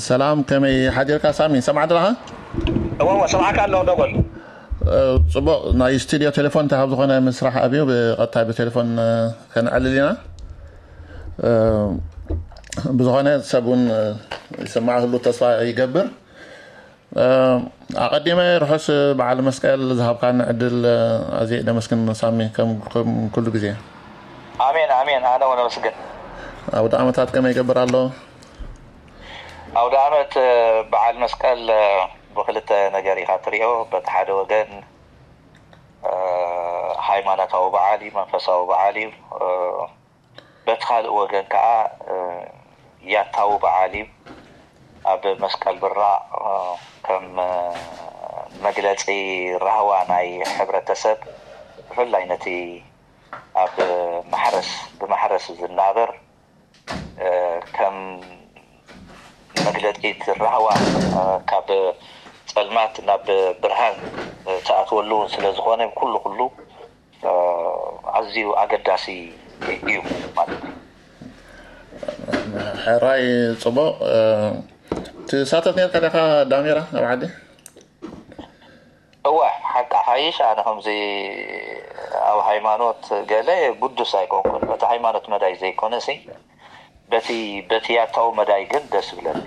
ሰላም፣ ከመይ ሓዲርካ ሳሚ? ሰማዕ ደለኻ? እወ፣ እወ፣ ሰማዕካ ኣለኹ፣ ደጎል። እ፣ ጽቡቕ። ናይ ስቱድዮ ቴሌፎን እንተ ካብ ዝኾነ ምስራሕ ኣብዩ፣ ብቐጥታ ብቴሌፎን፣ እ፣ ከነዕልል ኢና። እ፣ ብዝኾነ ሰብ እውን፣ እ፣ ይሰማዕ ህሉ ተስፋ ይገብር። እ፣ ኣቐዲመ ርሑስ በዓል መስቀል ዝሃብካኒ ዕድል፣ እ፣ ኣዝየ ደመስግን ሳሚ፣ ከም፣ ከም ኩሉ ግዜ። ኣሜን፣ ኣሜን። ኣነ እውን ኣመስግን። ኣውደ ዓመታት ከመይ ይገብር ኣሎ? ኣውደ ዓመት፣ እ፣ በዓል መስቀል፣ እ፣ ብክልተ ነገር ኢኻ ትሪኦ። በቲ ሓደ ወገን፣ እ፣ ሃይማኖታዊ በዓል እዩ፣ መንፈሳዊ በዓል እዩ። እ፣ በቲ ካልእ ወገን ከዓ፣ እ፣ ያታዊ በዓል እዩ። ኣብ መስቀል ብራቕ፣ እ፣ ከም፣ እ፣ መግለጺ ራህዋ ናይ ሕብረተሰብ፣ ብፍላይ ነቲ ኣብ ማሕረስ፣ ብማሕረስ ዝናበር፣ እ፣ ከም መግለጺ እቲ ራህዋ፣ እ፣ ካብ ጸልማት ናብ ብርሃን፣ እ፣ ትኣትወሉ ስለ ዝኾነ፣ ኩሉ ኩሉ፣ እ፣ ኣዝዩ ኣገዳሲ እዩ ማለት እዩ። ሕራይ ጽቡቕ። እ፣ ትሳተፍ ነርካ ዲኻ ዳሜራ ኣብ ዓዲ? እወ፣ ሓቂ ሓይሽ፣ ኣነ ከምዚ ኣብ ሃይማኖት ገለ ግዱስ ኣይኮንኩን። በቲ ሃይማኖት መዳይ ዘይኮነሲ፣ በቲ፣ በቲ ያታዊ መዳይ ግን ደስ ይብለኒ።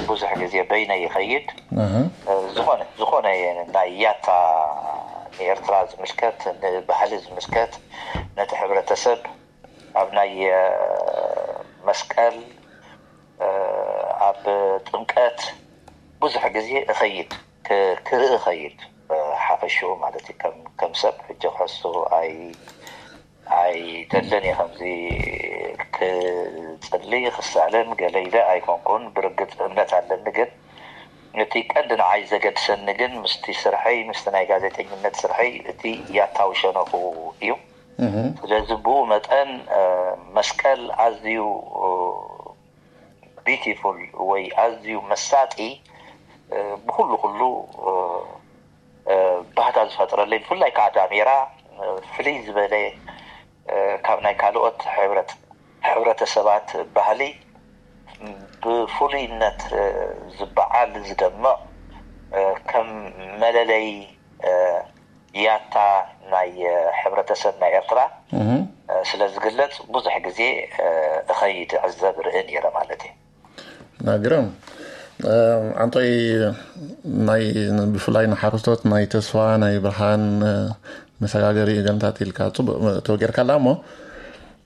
ብዙሕ ግዜ በይነ ይኸይድ። ኣሃ። እ፣ ዝኾነ፣ ዝኾነ ናይ ያታ ንኤርትራ ዝምልከት፣ ንባህሊ ዝምልከት፣ ነቲ ሕብረተሰብ ኣብ ናይ፣ እ፣ መስቀል፣ እ፣ ኣብ ጥምቀት ብዙሕ ግዜ እኸይድ፣ ክ-፣ ክርኢ እኸይድ፣ እ፣ ሓፈሽኡ ማለት እዩ። ከም፣ ከም ሰብ ሕጂ ክሕሱ ኣይ-፣ ኣይደልን እየ። ከምዚ ክጽሊ፣ ክሳለም ገለ ኢለ ኣይኮንኩን። ብርግጽ እምነት ኣለኒ፣ ግን እቲ ቀንዲ ንዓይ ዘገድሰኒ ግን ምስቲ ስርሐይ፣ ምስቲ ናይ ጋዜጠኝነት ስርሐይ፣ እቲ ያታዊ ሸነኹ እዩ። እህ። ስለዚ ብኡ መጠን፣ እ፣ መስቀል ኣዝዩ፣ እ፣ ቢዩቲፉል ወይ ኣዝዩ መሳጢ፣ እ፣ ብኹሉ ኩሉ፣ እ፣ እ፣ ባህታ ዝፈጥረለይ፣ ብፍላይ ከዓ ዳሜራ፣ እ፣ ፍልይ ዝበለ፣ እ፣ ካብ ናይ ካልኦት ሕብረት-፣ ሕብረተሰባት ባህሊ ብፍሉይነት፣ እ፣ ዝበዓል፣ ዝደምቕ፣ እ፣ ከም መለለይ፣ እ፣ ያታ ናይ፣ እ፣ ሕብረተሰብ ናይ ኤርትራ፣ እህ። እ፣ ስለ ዝግለጽ ብዙሕ ግዜ፣ እ፣ እኸይድ፣ እዕዘብ፣ ርኢ ነይረ ማለት እዩ። ናግረም፣ እ፣ ዓንቶይ ናይ፣ ብፍላይ ንሓረስቶት ናይ ተስፋ፣ ናይ ብርሃን፣ እ፣ መሰጋገሪ ገለታት ኢልካ ጽቡቕ ተወጊርካላ እሞ፣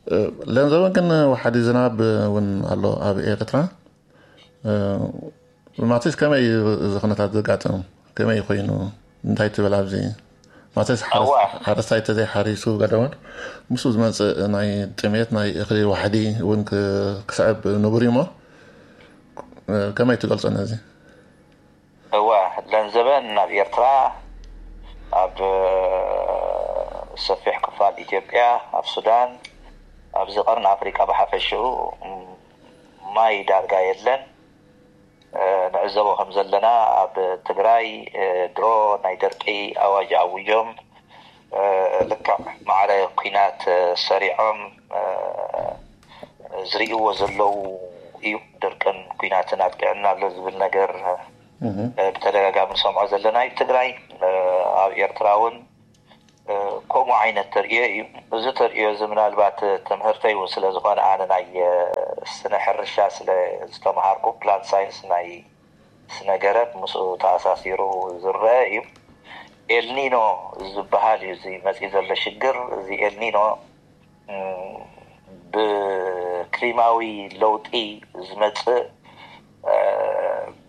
እ፣ ለንዘበን ግን ወሓዲ ዝናብ እውን ኣሎ ኣብ ኤርትራ። እ፣ ማቴስ ከመይ እዩ እዚ ኩነታት ዘጋጥም? ከመይ ኮይኑ? እንታይ ትብል ኣብዚ? ማቴስ ሓረስ-፣ እዋ። ሓረስታይ ተዘይሓሪሱ ገለውን ምስኡ ዝመጽእ ናይ ጥሜት፣ ናይ እኽሊ ዋሕዲ እውን ክ-፣ ክስዕብ ንቡር እዩ እሞ፣ እ፣ ከመይ ትገልጾ ነዚ? እዋ፣ ለንዘበን ናብ ኤርትራ፣ ኣብ ሰፊሕ ክፋል ኢትዮጵያ፣ ኣብ ሱዳን፣ ኣብዚ ቀርኒ ኣፍሪቃ ብሓፈሽኡ፣ ም-፣ ማይ ዳርጋ የለን። እ፣ ንዕዘቦ ከም ዘለና፣ ኣብ ትግራይ፣ እ፣ ድሮ ናይ ደርቂ ኣዋጅ ኣዊጆም፣ እ፣ ልክዕ ማዕረ ኲናት፣ እ፣ ሰሪዖም፣ እ፣ ዝርእይዎ ዘለዉ እዩ። ድርቅን ኲናትን ኣጥቂዑና ኣሎ ዝብል ነገር፣ እህ። እ፣ ብተደጋጋሚ ንሰምዖ ዘለና እዩ። ትግራይ፣ እ፣ ኣብ ኤርትራ እውን፣ እ፣ ከምኡ ዓይነት ተርእዮ እዩ። እዚ ተርእዮ እዚ ምናልባት ትምህርተይ እውን ስለ ዝኾነ፣ ኣነ ናይ፣ እ፣ ስነ ሕርሻ ስለ ዝተምሃርኩ፣ ፕላንት ሳይንስ ናይ ስነ ገረብ ምስኡ ተኣሳሲሩ ዝረአ እዩ። ኤልኒኖ ዝበሃል እዩ እዚ መፂኡ ዘሎ ሽግር። እዚ ኤልኒኖ፣ እም፣ ብክሊማዊ ለውጢ ዝመፅእ፣ እ፣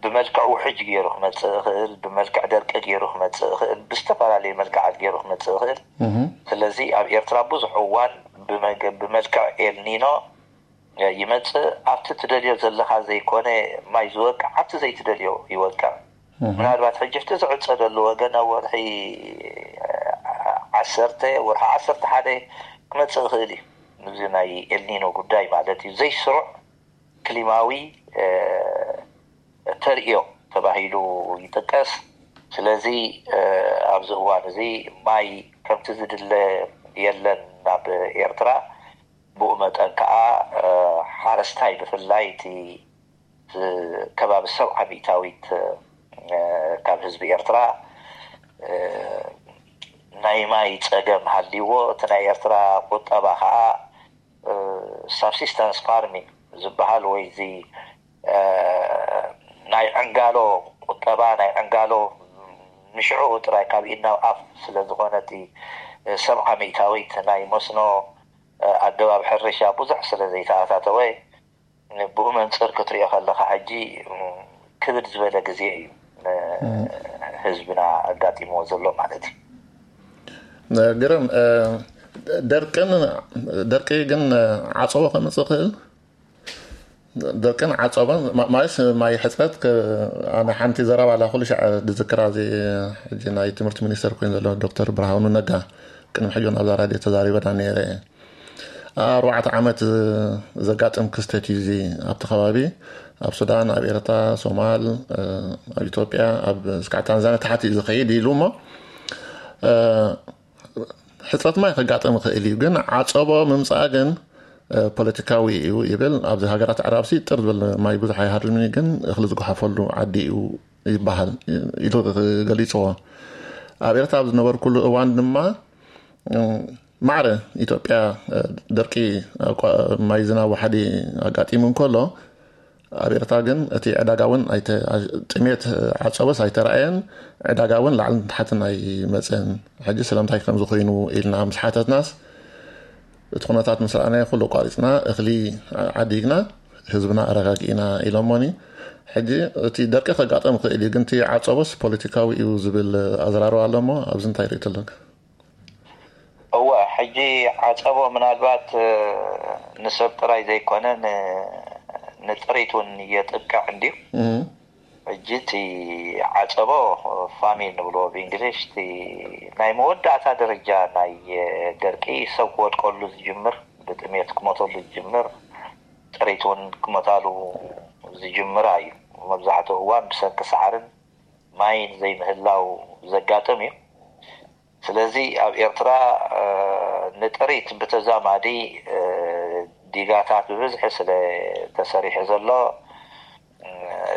ብመልክዕ ውሕጅ ገይሩ ክመፅእ ይኽእል፣ ብመልክዕ ደርቂ ገይሩ ክመፅእ ይኽእል፣ ብዝተፈላለየ መልክዓት ገይሩ ክመፅእ ይኽእል። እህ። ስለዚ ኣብ ኤርትራ ብዙሕ እዋን ብመገ-፣ ብመልክዕ ኤልኒኖ ይመጽእ። ኣብቲ ትደልዮ ዘለኻ ዘይኮነ ማይ ዝወቅዕ፣ ኣብቲ ዘይትደልዮ ይወቅዕ። እህ። ምናልባት ሕጂ እቲ ዝዕጸደሉ ወገን ኣብ ወርሒ ዓሰርተ፣ ወርሒ ዓሰርተ ሓደ ክመጽእ ይኽእል እዩ። እዚ ናይ ኤልኒኖ ጉዳይ ማለት እዩ። ዘይስሩዕ ክሊማዊ፣ እ፣ ተርእዮ ተባሂሉ ይጥቀስ። ስለዚ፣ እ፣ ኣብዚ እዋን እዚ ማይ ከምቲ ዝድለ የለን ናብ ኤርትራ። ብኡ መጠን ከኣ፣ እ፣ ሓረስታይ ብፍላይ እቲ ከባቢ ሰብዓ ሚእታዊት ካብ ህዝቢ ኤርትራ ናይ ማይ ጸገም ሃልይዎ፣ እቲ ናይ ኤርትራ ቁጠባ ከዓ ሳብሲስተንስ ፋርሚንግ ዝበሃል ወይ እዚ ናይ ዕንጋሎ ቁጠባ፣ ናይ ዕንጋሎ ንሽዑ ጥራይ ካብ ኢድ ናብ ኣፍ ስለ ዝኾነ፣ እቲ ሰብዓ ሚእታዊት ናይ መስኖ ኣገባብ ሕርሻ ብዙሕ ስለ ዘይተኣታተወ፣ ብኡ መንጽር ክትሪኦ ከለኻ ሕጂ ክብድ ዝበለ ግዜ እዩ ንህዝብና ኣጋጢምዎ ዘሎ ማለት እዩ። ግርም። ደርቅን ደርቂ ግን ዓጸቦ ከምጽእ ክእል? ደርቅን ዓጸቦን ማለት ማይ ሕፅረት። ኣነ ሓንቲ ዘረባ ኣላ ኩሉ ሻዕ ዝዝክራ፣ እዚ ሕጂ ናይ ትምህርቲ ሚኒስተር ኮይኑ ዘሎ ዶክተር ብርሃኑ ነጋ ቅድሚ ሕጂ ናብዛ ራድዮ ተዛሪበና ነይረ። ኣርባዕተ ዓመት ዘጋጥም ክስተት እዩ እዚ። ኣብቲ ከባቢ ኣብ ሱዳን፣ ኣብ ኤርትራ፣ ሶማል፣ ኣብ ኢትዮጵያ፣ ኣብ እስካዕ ታንዛንያ ታሕቲ እዩ ዝኸይድ ኢሉ እሞ ሕፅረት ማይ ከጋጥም ይኽእል እዩ፣ ግን ዓፀቦ ምምፃእ ግን ፖለቲካዊ እዩ ይብል። ኣብዚ ሃገራት ኣዕራብሲ ጥር ዝብል ማይ ብዙሕ ኣይሃርምን እዩ፣ ግን እኽሊ ዝጓሓፈሉ ዓዲ እዩ ይበሃል ኢሉ ገሊፅዎ። ኣብ ኤርትራ ኣብ ዝነበርኩሉ እዋን ድማ ማዕረ ኢትዮጵያ ደርቂ ማይ ዝናብ ወሓዲ ኣጋጢሙ እንከሎ፣ ኣብ ኤርትራ ግን እቲ ዕዳጋ እውን ጥሜት ዓፀቦስ ኣይተረኣየን፣ ዕዳጋ እውን ላዕልን ታሕትን ኣይመፅእን። ሕጂ ስለምንታይ ከምዚ ኮይኑ ኢልና ምስ ሓተትናስ፣ እቲ ኩነታት ምስ ረኣናዮ ኩሉ ኣቋሪፅና እኽሊ ዓዲግና ህዝብና ኣረጋጊእና ኢሎሞኒ። ሕጂ እቲ ደርቂ ከጋጠም ይኽእል እዩ፣ ግን እቲ ዓፀቦስ ፖለቲካዊ እዩ ዝብል ኣዘራርባ ኣሎ እሞ ኣብዚ እንታይ ርእይቶ ኣለካ? እወ፣ ሕጂ ዓፀቦ ምናልባት ንሰብ ጥራይ ዘይኮነ ንጥሪት እውን የጥቅዕ እንድዩ። ሕጂ እቲ ዓፀቦ ፋሚን ንብሎ ብእንግሊሽ፣ እቲ ናይ መወዳእታ ደረጃ ናይ ደርቂ ሰብ ክወድቀሉ ዝጅምር፣ ብጥሜት ክሞተሉ ዝጅምር፣ ጥሪት እውን ክመታሉ ዝጅምር እዩ። መብዛሕትኡ እዋን ብሰንኪ ሳዕርን ማይን ዘይምህላው ዘጋጥም እዩ። ስለዚ ኣብ ኤርትራ ንጥሪት ብተዛማዲ ዲጋታት ብብዝሒ ስለ ተሰሪሑ ዘሎ፣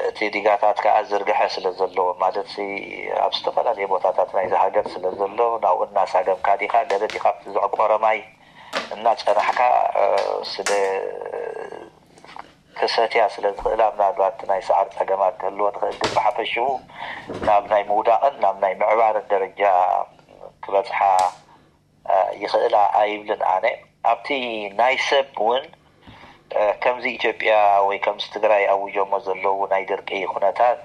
እቲ ዲጋታት ከዓ ዝርግሐ ስለ ዘለዎ፣ ማለት ኣብ ዝተፈላለዩ ቦታታት ናይዚ ሃገር ስለ ዘሎ፣ ናብኡ እናሳገምካ ዲኻ፣ ገለ ዲኻ ኣብቲ ዘዕቆረ ማይ እናጸናሕካ ስለ ክሰትያ ስለ ዝኽእላ፣ ምናልባት ናይ ሰዓር ጸገማት ክህልወን ይኽእል፣ ግን ብሓፈሽኡ ናብ ናይ ምውዳቕን ናብ ናይ ምዕባርን ደረጃ ክበጽሓ ይኽእላ ኣይብልን ኣነ። ኣብቲ ናይ ሰብ እውን ከምዚ ኢትዮጵያ ወይ ከምዚ ትግራይ ኣውጆሞ ዘለዉ ናይ ድርቂ ኩነታት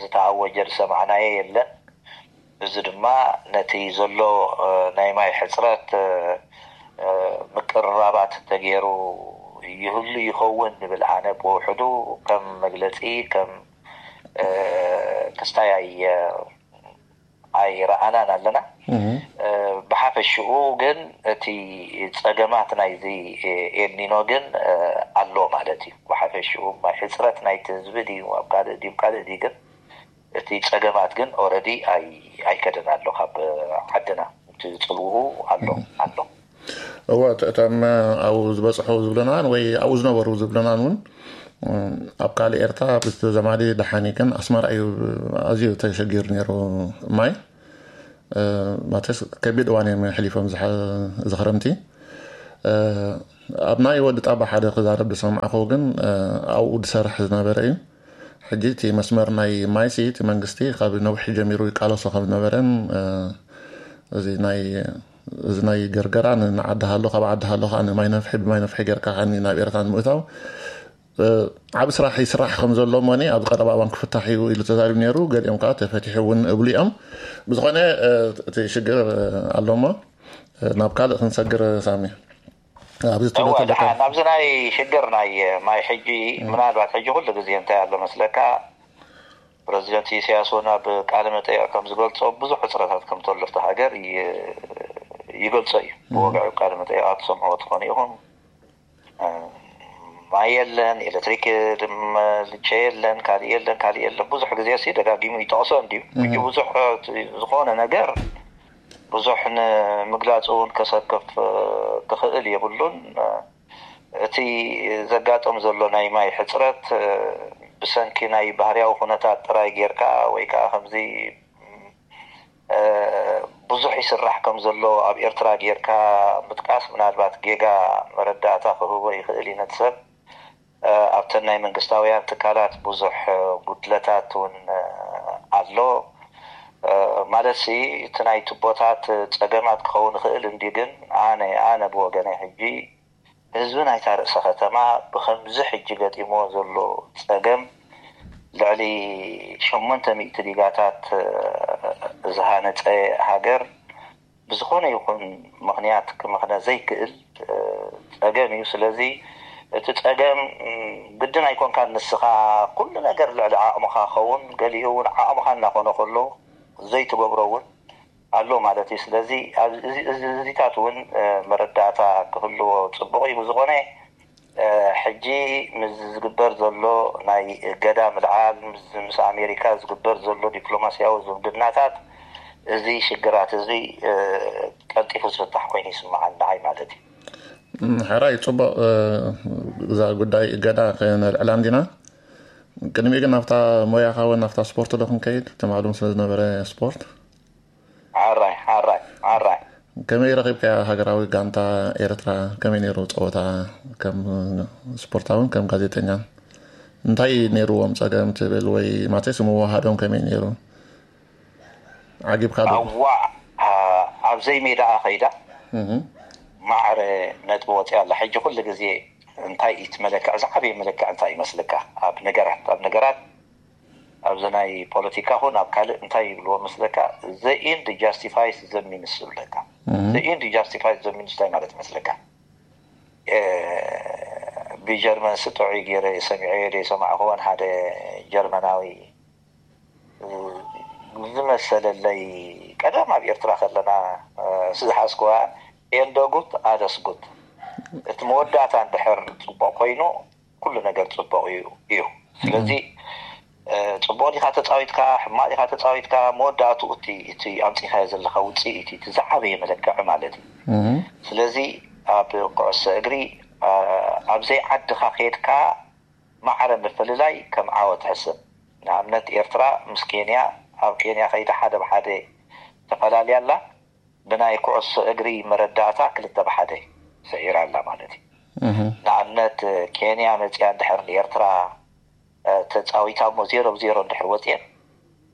ዝተኣወጀ ዝሰማዕናዮ የለን። እዚ ድማ ነቲ ዘሎ ናይ ማይ ሕፅረት ምቅርራባት ተገይሩ ይህሉ ይኸውን ንብል። ኣነ ብውሕዱ ከም መግለፂ ከም ክስታይ ኣይ ኣይረኣናን ኣለና። ብሓፈሽኡ ግን እቲ ፀገማት ናይዚ ኤልኒኖ ግን ኣሎ ማለት እዩ። ብሓፈሽኡ ማይ ሕፅረት ናይቲ ህዝቢ ድዩ ኣብ ካልእ ድዩ ካልእ ድዩ ግን እቲ ፀገማት ግን ኦረዲ ኣይከደን ኣሎ ካብ ዓድና። እቲ ፅልውኡ ኣሎ ኣሎ። እወ፣ እቶም ኣብኡ ዝበፅሑ ዝብለናን ወይ ኣብኡ ዝነበሩ ዝብለናን እውን ኣብ ካልእ ኤርትራ ብተዘማዲ ደሓን እዩ፣ ግን ኣስመራ እዩ ኣዝዩ ተሸጊሩ ነይሩ ማይ። ማለትስ ከቢድ እዋን እዮም ሕሊፎም እዚ ክረምቲ። ኣብ ናይ ወዲ ጣባ ሓደ ክዛረብ ዝሰማዕኹ ግን ኣብኡ ዝሰርሕ ዝነበረ እዩ። ሕጂ እቲ መስመር ናይ ማይሲ እቲ መንግስቲ ካብ ነዊሕ ጀሚሩ ይቃለሶ ከም ዝነበረን እዚ ናይ እዚ ናይ ገርገራ ንዓዲ ሃሎ ካብ ዓዲ ሃሎ ከዓ ንማይ ነፍሒ ብማይ ነፍሒ ጌርካ ከዓኒ ናብ ኤርትራ ንምእታው ዓብ ስራሕ ይስራሕ ከም ዘሎ እሞኒ ኣብዚ ቀረባ እዋን ክፍታሕ እዩ ኢሉ ተዛሪቡ ነይሩ። ገሊኦም ከዓ ተፈቲሑ እውን እብሉ እዮም። ብዝኾነ እቲ ሽግር ኣሎ እሞ ናብ ካልእ ክንሰግር ሳሚ። ኣብዚ ትብሎ እወ፣ ዘለካ ደሓን ናብዚ ናይ ሽግር ናይ ማይ ሕጂ ምናልባት ሕጂ ኩሉ ግዜ እንታይ ኣሎ መስለካ፣ ፕረዚደንት ኢሳያስ እውን ኣብ ቃለ መጠይቕ ከም ዝገልጾ ብዙሕ ሕፅረታት ከም ተሎ ኣብቲ ሃገር ይ- ይገልጾ እዩ። ብወግዒ ቃለ መጠይቓት ትሰምዕዎ ትኾኑ ኢኹም። ማይ የለን፣ ኤሌክትሪክ ድም ልቸ የለን፣ ካልእ የለን፣ ካልእ የለን። ብዙሕ ግዜ ሲ ደጋጊሙ ይጠቕሶ እንድዩ። ሕጂ ብዙሕ ዝኾነ ነገር ብዙሕ ንምግላፅ እውን ከሰክፍ ክኽእል የብሉን። እቲ ዘጋጥም ዘሎ ናይ ማይ ሕፅረት ብሰንኪ ናይ ባህርያዊ ኩነታት ጥራይ ጌርካ ወይ ከዓ ከምዚ ብዙሕ ይስራሕ ከም ዘሎ ኣብ ኤርትራ ጌርካ ምጥቃስ ምናልባት ጌጋ መረዳእታ ክህቦ ይኽእል እዩ ነቲ ሰብ። ኣብተን ናይ መንግስታውያን ትካላት ብዙሕ ጉድለታት እውን ኣሎ። ማለት ሲ እቲ ናይ ቱቦታት ጸገማት ክኸውን ይኽእል እንዲ ግን ኣነ ኣነ ብወገነይ ሕጂ ህዝቢ ናይታ ርእሰ ከተማ ብኸምዚ ሕጂ ገጢሞ ዘሎ ጸገም ልዕሊ ሸሞንተ ሚእቲ ዲጋታት ዝሃነጸ ሃገር ብዝኾነ ይኹን ምኽንያት ክምኽነ ዘይክእል ጸገም እዩ። ስለዚ እቲ ጸገም ግድን ኣይኮንካን ንስኻ ኩሉ ነገር ልዕሊ ዓቕምኻ ኸውን ገሊኡ እውን ዓቕምኻ እናኾነ ከሎ ዘይትገብሮ እውን ኣሎ ማለት እዩ። ስለዚ እዚታት እውን መረዳእታ ክህልዎ ፅቡቕ እዩ። ብዝኾነ ሕጂ ምስ ዝግበር ዘሎ ናይ እገዳ ምልዓል ምስ ኣሜሪካ ዝግበር ዘሎ ዲፕሎማስያዊ ዝምድናታት እዚ ሽግራት እዚ ቀልጢፉ ዝፍታሕ ኮይኑ ይስምዓኒ ንዓይ ማለት እዩ። ሕራይ ፅቡቕ። እዛ ጉዳይ እገዳ ከነልዕላ እንዲና። ቅድሚኡ ግን ናብታ ሞያኻ እውን ናብታ ስፖርት ዶ ክንከይድ? ትማሊ ስለ ዝነበረ ስፖርት ሓራይ ሓራይ ሓራይ ከመይ ረኺብካያ ሃገራዊ ጋንታ ኤርትራ? ከመይ ነይሩ ፀወታ? ከም ስፖርታውን ከም ጋዜጠኛን እንታይ ነይርዎም ፀገም ትብል ወይ ማተስ ምወሃዶም ከመይ ነይሩ? ዓጊብካ ዶ? ኣዋዕ ኣብዘይ ሜዳኣ ከይዳ ማዕረ ነጥቢ ወፂኣ ኣላ። ሕጂ ኩሉ ግዜ እንታይ እዩ እቲ መለክዕ ዝዓበየ መለክዕ እንታይ ይመስለካ? ኣብ ነገራት ኣብ ነገራት ኣብዚ ናይ ፖለቲካ ኹን ኣብ ካልእ እንታይ ይብልዎ መስለካ? The end justifies the means ዝብለካ። The end justifies the means እንታይ ማለት መስለካ? ብጀርመን ስጥዑይ ገይረ ሰሚዐዮ ዘይሰማዕክዎን ሓደ ጀርመናዊ ዝመሰለለይ ቀደም ኣብ ኤርትራ ከለና ዝሓዝክዋ ኤንደጉት ኣደስጉት እቲ መወዳእታ እንድሕር ፅቡቕ ኮይኑ ኩሉ ነገር ፅቡቕ እዩ እዩ ስለዚ ፅቡቕ ዲኻ ተፃዊትካ ሕማቕ ዲኻ ተፃዊትካ መወዳእትኡ እቲ እቲ ኣምፂኻዮ ዘለካ ውፅኢት እቲ ዝዓበየ መለክዒ ማለት እዩ ስለዚ ኣብ ኩዕሶ እግሪ ኣብ ዘይዓድኻ ከድካ ማዕረ ምፍልላይ ከም ዓወት ሕስብ። ንኣብነት ኤርትራ ምስ ኬንያ ኣብ ኬንያ ከይዳ ሓደ ብሓደ ተፈላልያ ኣላ። ብናይ ኩዕሶ እግሪ መረዳእታ ክልተ ብሓደ ስዒራ ኣላ ማለት እዩ። ንኣብነት ኬንያ መፅያ እንድሕር ንኤርትራ ተፃዊታ እሞ ዜሮ ብዜሮ እንድሕር ወፅኤን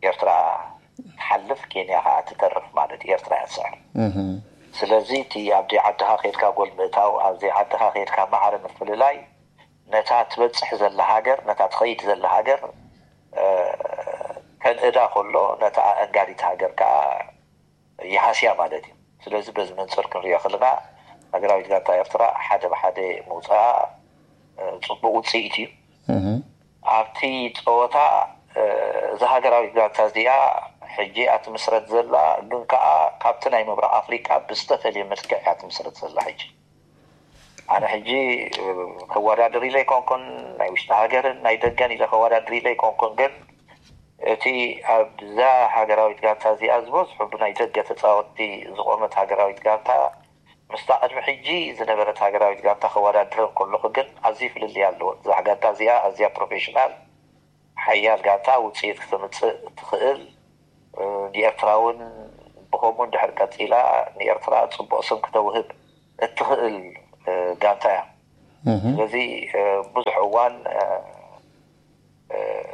ኤርትራ ትሓልፍ ኬንያ ከዓ ትተርፍ ማለት እዩ። ኤርትራ እያ ትስዕር። ስለዚ እቲ ኣብ ዘይዓድኻ ከይድካ ጎል ምእታው ኣብ ዘይዓድኻ ከይድካ ማዕረ ምፍልላይ ነታ ትበፅሕ ዘላ ሃገር ነታ ትኸይድ ዘላ ሃገር ከንእዳ ከሎ ነታ ኣእንጋዲት ሃገር ከዓ ይሃስያ ማለት እዩ። ስለዚ በዚ መንፅር ክንሪኦ ከለና ሃገራዊት ጋንታ ኤርትራ ሓደ ብሓደ ምውፅኣ ፅቡቅ ውፅኢት እዩ። ኣብቲ ፀወታ እዛ ሃገራዊት ጋንታ እዚኣ ሕጂ እያ ትምስረት ዘላ፣ ግን ከዓ ካብቲ ናይ ምብራቅ ኣፍሪቃ ብዝተፈልየ መልክዕ እያ ትምስረት ዘላ። ሕጂ ኣነ ሕጂ ከወዳድር ኢለ ኣይኮንኩን፣ ናይ ውሽጢ ሃገርን ናይ ደገን ኢለ ከወዳድር ኢለ ኣይኮንኩን፣ ግን እቲ ኣብዛ ሃገራዊት ጋንታ እዚኣ ዝበዝሑ ብናይ ደገ ተፃወትቲ ዝቆመት ሃገራዊት ጋንታ ምስታ ቅድሚ ሕጂ ዝነበረት ሃገራዊት ጋንታ ከወዳድር ከለኹ ግን ኣዝዩ ፍልልይ ኣለዎ። እዛ ጋንታ እዚኣ ኣዝያ ፕሮፌሽናል ሓያል ጋንታ ውፅኢት ክተምፅእ እትኽእል ንኤርትራ እውን ብኸምኡ እንድሕር ቀፂላ ንኤርትራ ፅቡቕ ስም ክተውህብ እትኽእል ጋንታ እያ። ስለዚ ብዙሕ እዋን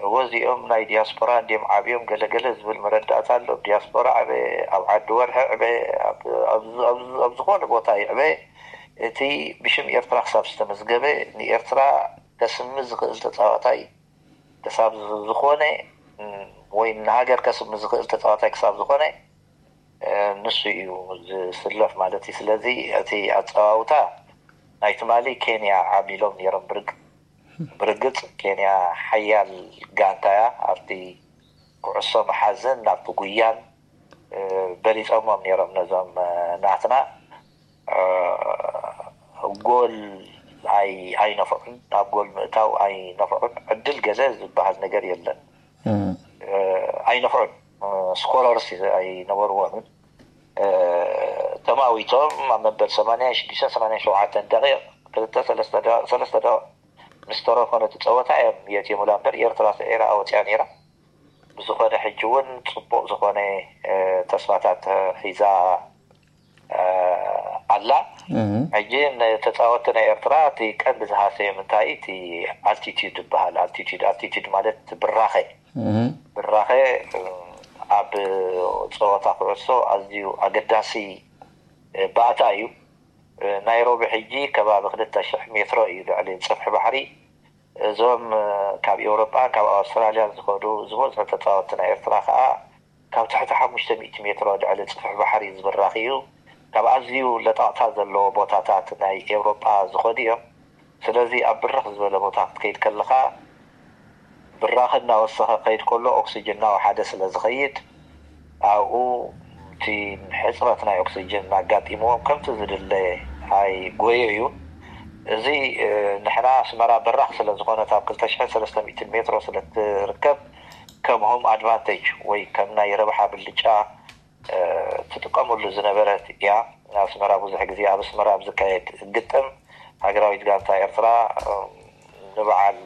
እወ እዚኦም ናይ ዲያስፖራ እንዲም ዓብዮም ገለገለ ዝብል መረዳእታ ኣሎ። ዲያስፖራ ዕበ ኣብ ዓዲ ወርሒ ዕበ ኣብ ዝኾነ ቦታ ይዕበ እቲ ብሽም ኤርትራ ክሳብ ዝተመዝገበ ንኤርትራ ከስሚ ዝኽእል ተፃዋታይ ክሳብ ዝኾነ ወይ ንሃገር ከስሚ ዝኽእል ተፃዋታይ ክሳብ ዝኾነ ንሱ እዩ ዝስለፍ ማለት እዩ። ስለዚ እቲ ኣፀዋውታ ናይ ትማሊ ኬንያ ዓብሊሎም ነይሮም ብርግ ብርግፅ ኬንያ ሓያል ጋንታ እያ። ኣብቲ ኩዕሶ መሓዝን ናብቲ ጉያን በሊፆሞም ነይሮም ነዞም ናትና ጎል ኣይነፍዑን፣ ናብ ጎል ምእታው ኣይነፍዑን። ዕድል ገለ ዝበሃል ነገር የለን። ኣይነፍዑን፣ ስኮረርስ ኣይነበርዎምን። ተማዊቶም ኣብ መበል ሰማንያ ሽዱሽተ ሰማንያ ሸውዓተ ደቂቕ ክልተ ሰለስተ ደቂቕ ምስ ተረፎ ነቲ ፀወታ እዮም የትየሙላ እምበር ኤርትራ ስዒራ ወፅያ ነይራ። ብዝኾነ ሕጂ እውን ፅቡቕ ዝኾነ ተስፋታት ሒዛ ኣላ። ሕጂ ንተፃወትቲ ናይ ኤርትራ እቲ ቀንዲ ዝሃሰዮም እንታይ እቲ ኣልቲቲድ ይበሃል። ኣልቲቲድ ኣልቲቲድ ማለት ብራኸ ብራኸ ኣብ ፀወታ ኩዕሶ ኣዝዩ ኣገዳሲ ባእታ እዩ። ናይሮቢ ሕጂ ከባቢ ክልተ ሽሕ ሜትሮ እዩ ልዕሊ ፅፍሒ ባሕሪ። እዞም ካብ ኤውሮጳን ካብ ኣውስትራልያን ዝኸዱ ዝበዝሑ ተፃወትቲ ናይ ኤርትራ ከዓ ካብ ትሕቲ ሓሙሽተ ሚእቲ ሜትሮ ልዕሊ ፅፍሒ ባሕሪ ዝብራኽ እዩ። ካብ ኣዝዩ ለጣቕታ ዘለዎ ቦታታት ናይ ኤውሮጳ ዝኸዱ እዮም። ስለዚ ኣብ ብርኽ ዝበለ ቦታ ክትከይድ ከለኻ ብራኸ እናወሰኸ ከይድ ከሎ ኦክስጅን እናወሓደ ስለ ዝኸይድ ኣብኡ እቲ ሕፅረት ናይ ኦክስጅን እናጋጢምዎም ከምቲ ዝድለ ኣይጎዮ እዩ። እዚ ንሕና ኣስመራ በራኽ ስለ ዝኾነት ኣብ ክልተ ሽሕን ሰለስተ ሚእትን ሜትሮ ስለ ትርከብ ከም ሆም ኣድቫንቴጅ ወይ ከም ናይ ረብሓ ብልጫ ትጥቀመሉ ዝነበረት እያ። ኣስመራ ብዙሕ ግዜ ኣብ ኣስመራ ኣብ ዝካየድ ግጥም ሃገራዊት ጋንታ ኤርትራ ንበዓል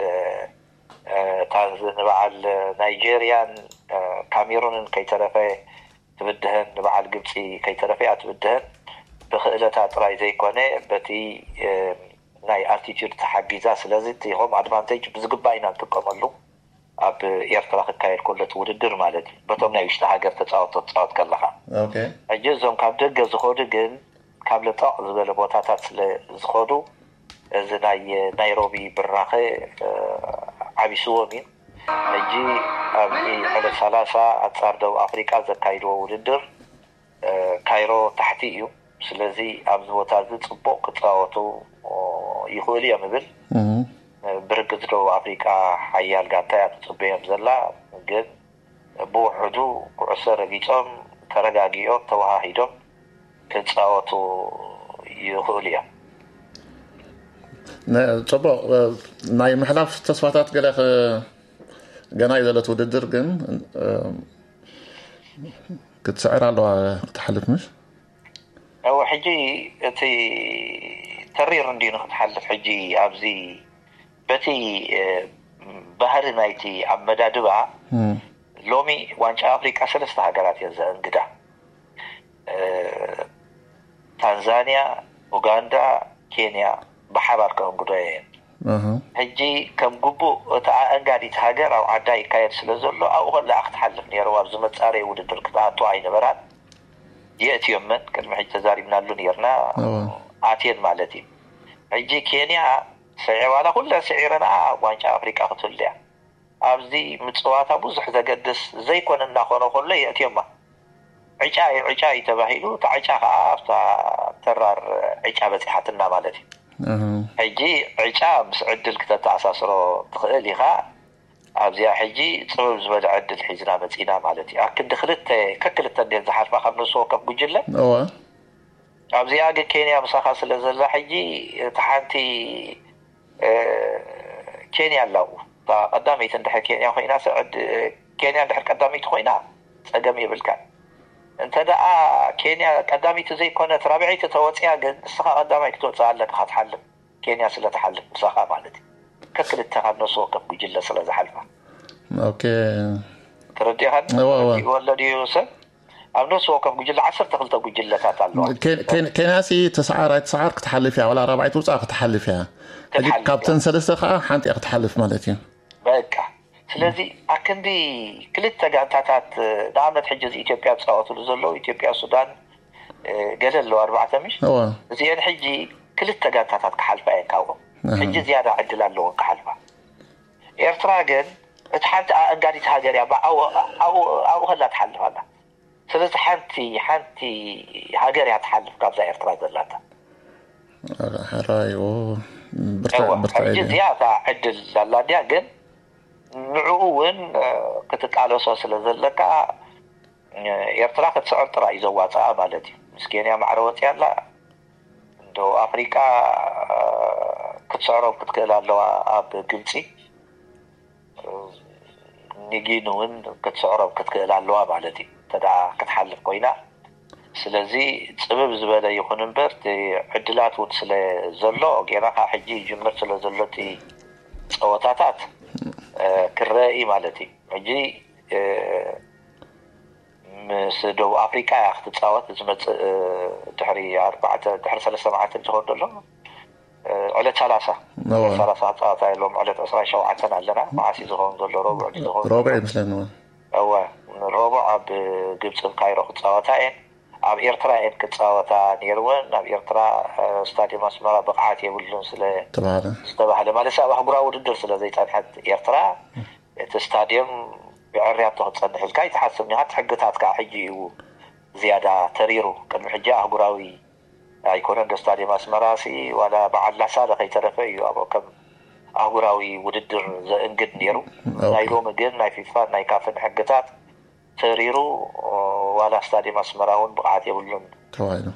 ታንዝ ንበዓል ናይጀርያን ካሜሩንን ከይተረፈ ትብድሀን ንበዓል ግብፂ ከይተረፈ እያ ትብድሀን። ብክእለታ ጥራይ ዘይኮነ በቲ ናይ ኣልቲቱድ ተሓጊዛ። ስለዚ እቲ ሆም ኣድቫንቴጅ ብዝግባእ ኢና ንጥቀመሉ ኣብ ኤርትራ ክካየድ ከሎ እቲ ውድድር ማለት እዩ። በቶም ናይ ውሽጢ ሃገር ተፃወቶ ትፃወት ከለካ ሕጂ እዞም ካብ ደገ ዝኸዱ ግን ካብ ለጠቕ ዝበለ ቦታታት ስለ ዝኸዱ እዚ ናይ ናይሮቢ ብራኸ ዓቢስዎም እዩ። ሕጂ ኣብዚ ዕለት ሰላሳ ኣንጻር ደቡብ ኣፍሪቃ ዘካይድዎ ውድድር ካይሮ ታሕቲ እዩ። ስለዚ ኣብዚ ቦታ እዚ ፅቡቕ ክፃወቱ ይኽእሉ እዮም እብል። ብርግፅ ደቡብ ኣፍሪቃ ሓያል ጋንታ እያ ትፅበዮም ዘላ፣ ግን ብውሕዱ ኩዕሶ ረጊፆም ተረጋጊኦም ተወሃሂዶም ክፃወቱ ይኽእሉ እዮም። ፅቡቕ ናይ ምሕላፍ ተስፋታት ገለ ገና እዩ ዘሎ እቲ ውድድር፣ ግን ክትስዕር ኣለዋ ክትሓልፍ ምሽ? እወ ሕጂ እቲ ተሪር እንዲዩ ንክትሓልፍ ሕጂ ኣብዚ በቲ ባህሪ ናይቲ ኣመዳድባ ሎሚ ዋንጫ ኣፍሪቃ ሰለስተ ሃገራት እየን ዘእንግዳ። ታንዛንያ፣ ኡጋንዳ፣ ኬንያ ብሓባር ከእንግዶ እየን። ሕጂ ከም ግቡእ እቲ ኣእንጋዲት ሃገር ኣብ ዓዳ ይካየድ ስለ ዘሎ ኣብኡ ከላ ክትሓልፍ ነይርዋ። ኣብዚ መፃረይ ውድድር ክትኣቱ ኣይነበራን። የእትዮመን ቅድሚ ሕጂ ተዛሪብናሉ ነርና። ኣትየን ማለት እዩ። ሕጂ ኬንያ ስዒ ዋላ ኩለን ስዒረንኣ ኣብ ዋንጫ ኣፍሪቃ ክትህሉ እያ። ኣብዚ ምፅዋታ ብዙሕ ዘገድስ ዘይኮነ እናኾነ ከሎ የእትዮማ። ዕጫ እዩ ዕጫ እዩ ተባሂሉ እታ ዕጫ ከዓ ኣብታ ተራር ዕጫ በፂሓትና ማለት እዩ። ሕጂ ዕጫ ምስ ዕድል ክተተኣሳስሮ ትኽእል ኢኻ። ኣብዚኣ ሕጂ ፅብብ ዝበለ ዕድል ሒዝና መፂና ማለት እዩ። ኣብ ክንዲ ክልተ ከክልተ እንዴት ዝሓልፋ ካብ ነፍሲ ወከፍ ጉጅለ ኣብዚኣ ግን ኬንያ ምሳኻ ስለ ዘላ ሕጂ እቲ ሓንቲ ኬንያ ኣላው ቀዳመይቲ እንድሕር ኬንያ ኮይና ኬንያ እንድሕር ቀዳመይቲ ኮይና ፀገም የብልካ። እንተ ደኣ ኬንያ ቀዳመይቲ ዘይኮነት ራብዐይቲ ተወፅያ ግን ንስኻ ቀዳማይ ክትወፅእ ኣለካ ክትሓልፍ ኬንያ ስለ ትሓልፍ ምሳኻ ማለት እዩ። ከክልተ ካብ ነፍሲ ወከፍ ጉጅለ ስለ ዝሓልፋ ኦኬ ተረዲኻን ወለድዩ ሰብ ኣብ ነፍሲ ወከፍ ጉጅለ ዓሰርተ ክልተ ጉጅለታት ኣለዋ። ኬንያ ሲ ተሰዓር ኣይተሰዓር ክትሓልፍ እያ፣ ዋላ ራብዓይ ትውፃእ ክትሓልፍ እያ። ሕጂ ካብተን ሰለስተ ከዓ ሓንቲ እያ ክትሓልፍ ማለት እዩ። በቃ ስለዚ ኣክንዲ ክልተ ጋንታታት ንኣብነት ሕጂ እዚ ኢትዮጵያ ዝፃወትሉ ዘለዉ ኢትዮጵያ፣ ሱዳን ገለ ኣለዉ ኣርባዕተ ምሽ እዚአን ሕጂ ክልተ ጋንታታት ክሓልፋ እየን ካብኦም። ሕጂ ዝያዳ ዕድል ኣለዎን ክሓልፋ። ኤርትራ ግን እቲ ሓንቲ ኣእንጋዲት ሃገር እያ። ኣብኡ ከላ ትሓልፍ ኣላ። ስለዚ ሓንቲ ሓንቲ ሃገር እያ ትሓልፍ ካብዛ ኤርትራ ዘላታ። ሕራይ ሕጂ እዚኣ እታ ዕድል ኣላ እንዲያ፣ ግን ንዕኡ እውን ክትቃለሶ ስለ ዘለካ ኤርትራ ክትስዕር ጥራይ እዩ ዘዋፅኣ ማለት እዩ። ምስ ኬንያ ማዕረ ወፅያ ኣላ። ደቡብ ኣፍሪቃ ክትስዕሮም ክትክእል ኣለዋ ኣብ ግብፂ። ንጊን እውን ክትስዕሮም ክትክእል ኣለዋ ማለት እዩ እንተ ክትሓልፍ ኮይና። ስለዚ ፅብብ ዝበለ ይኹን እምበር እቲ ዕድላት እውን ስለ ዘሎ ጌና ካብ ሕጂ ይጅምር ስለ ዘሎ እቲ ፀወታታት ክረአ እዩ ማለት እዩ። ሕጂ ምስ ደቡብ ኣፍሪቃ እያ ክትፃወት ዝመፅእ፣ ድሕሪ ኣርባዕተ ድሕሪ ሰለስተ መዓልቲ እንትኸውን ዘሎ ዕለት ሰላሳ ሰላሳ ክፃወታ የሎም። ዕለት ዕስራን ሸውዓተን ኣለና። መዓስ እዩ ዝኸውን ዘሎ? ረቡዕ ዝኸውን? ረቡዕ ይመስለኒ። እወ፣ ረቡዕ ኣብ ግብፂ ካይሮ ክፃወታ እየን። ኣብ ኤርትራ እየን ክፃወታ ነይርወን። ኣብ ኤርትራ ስታዲየም ኣስመራ ብቕዓት የብሉን ስለ ዝተባህለ፣ ማለት ኣብ ኣህጉራዊ ውድድር ስለ ዘይፀንሐት ኤርትራ፣ እቲ ስታዲየም ብዕርያቶ ክትፀንሕ ኢልካ ኣይትሓስብን ኢኻ። እቲ ሕግታት ከዓ ሕጂ እዩ ዝያዳ ተሪሩ። ቅድሚ ሕጂ ኣህጉራዊ ኣይኮነን ዶ ስታዲየም ኣስመራ ሲ ዋላ በዓል ላሳለ ከይተረፈ እዩ ኣብኡ ከም ኣህጉራዊ ውድድር ዘእንግድ ነይሩ። ናይ ሎሚ ግን ናይ ፊፋን ናይ ካፍን ሕግታት ተሪሩ፣ ዋላ ስታዲየም ኣስመራ እውን ብቕዓት የብሉን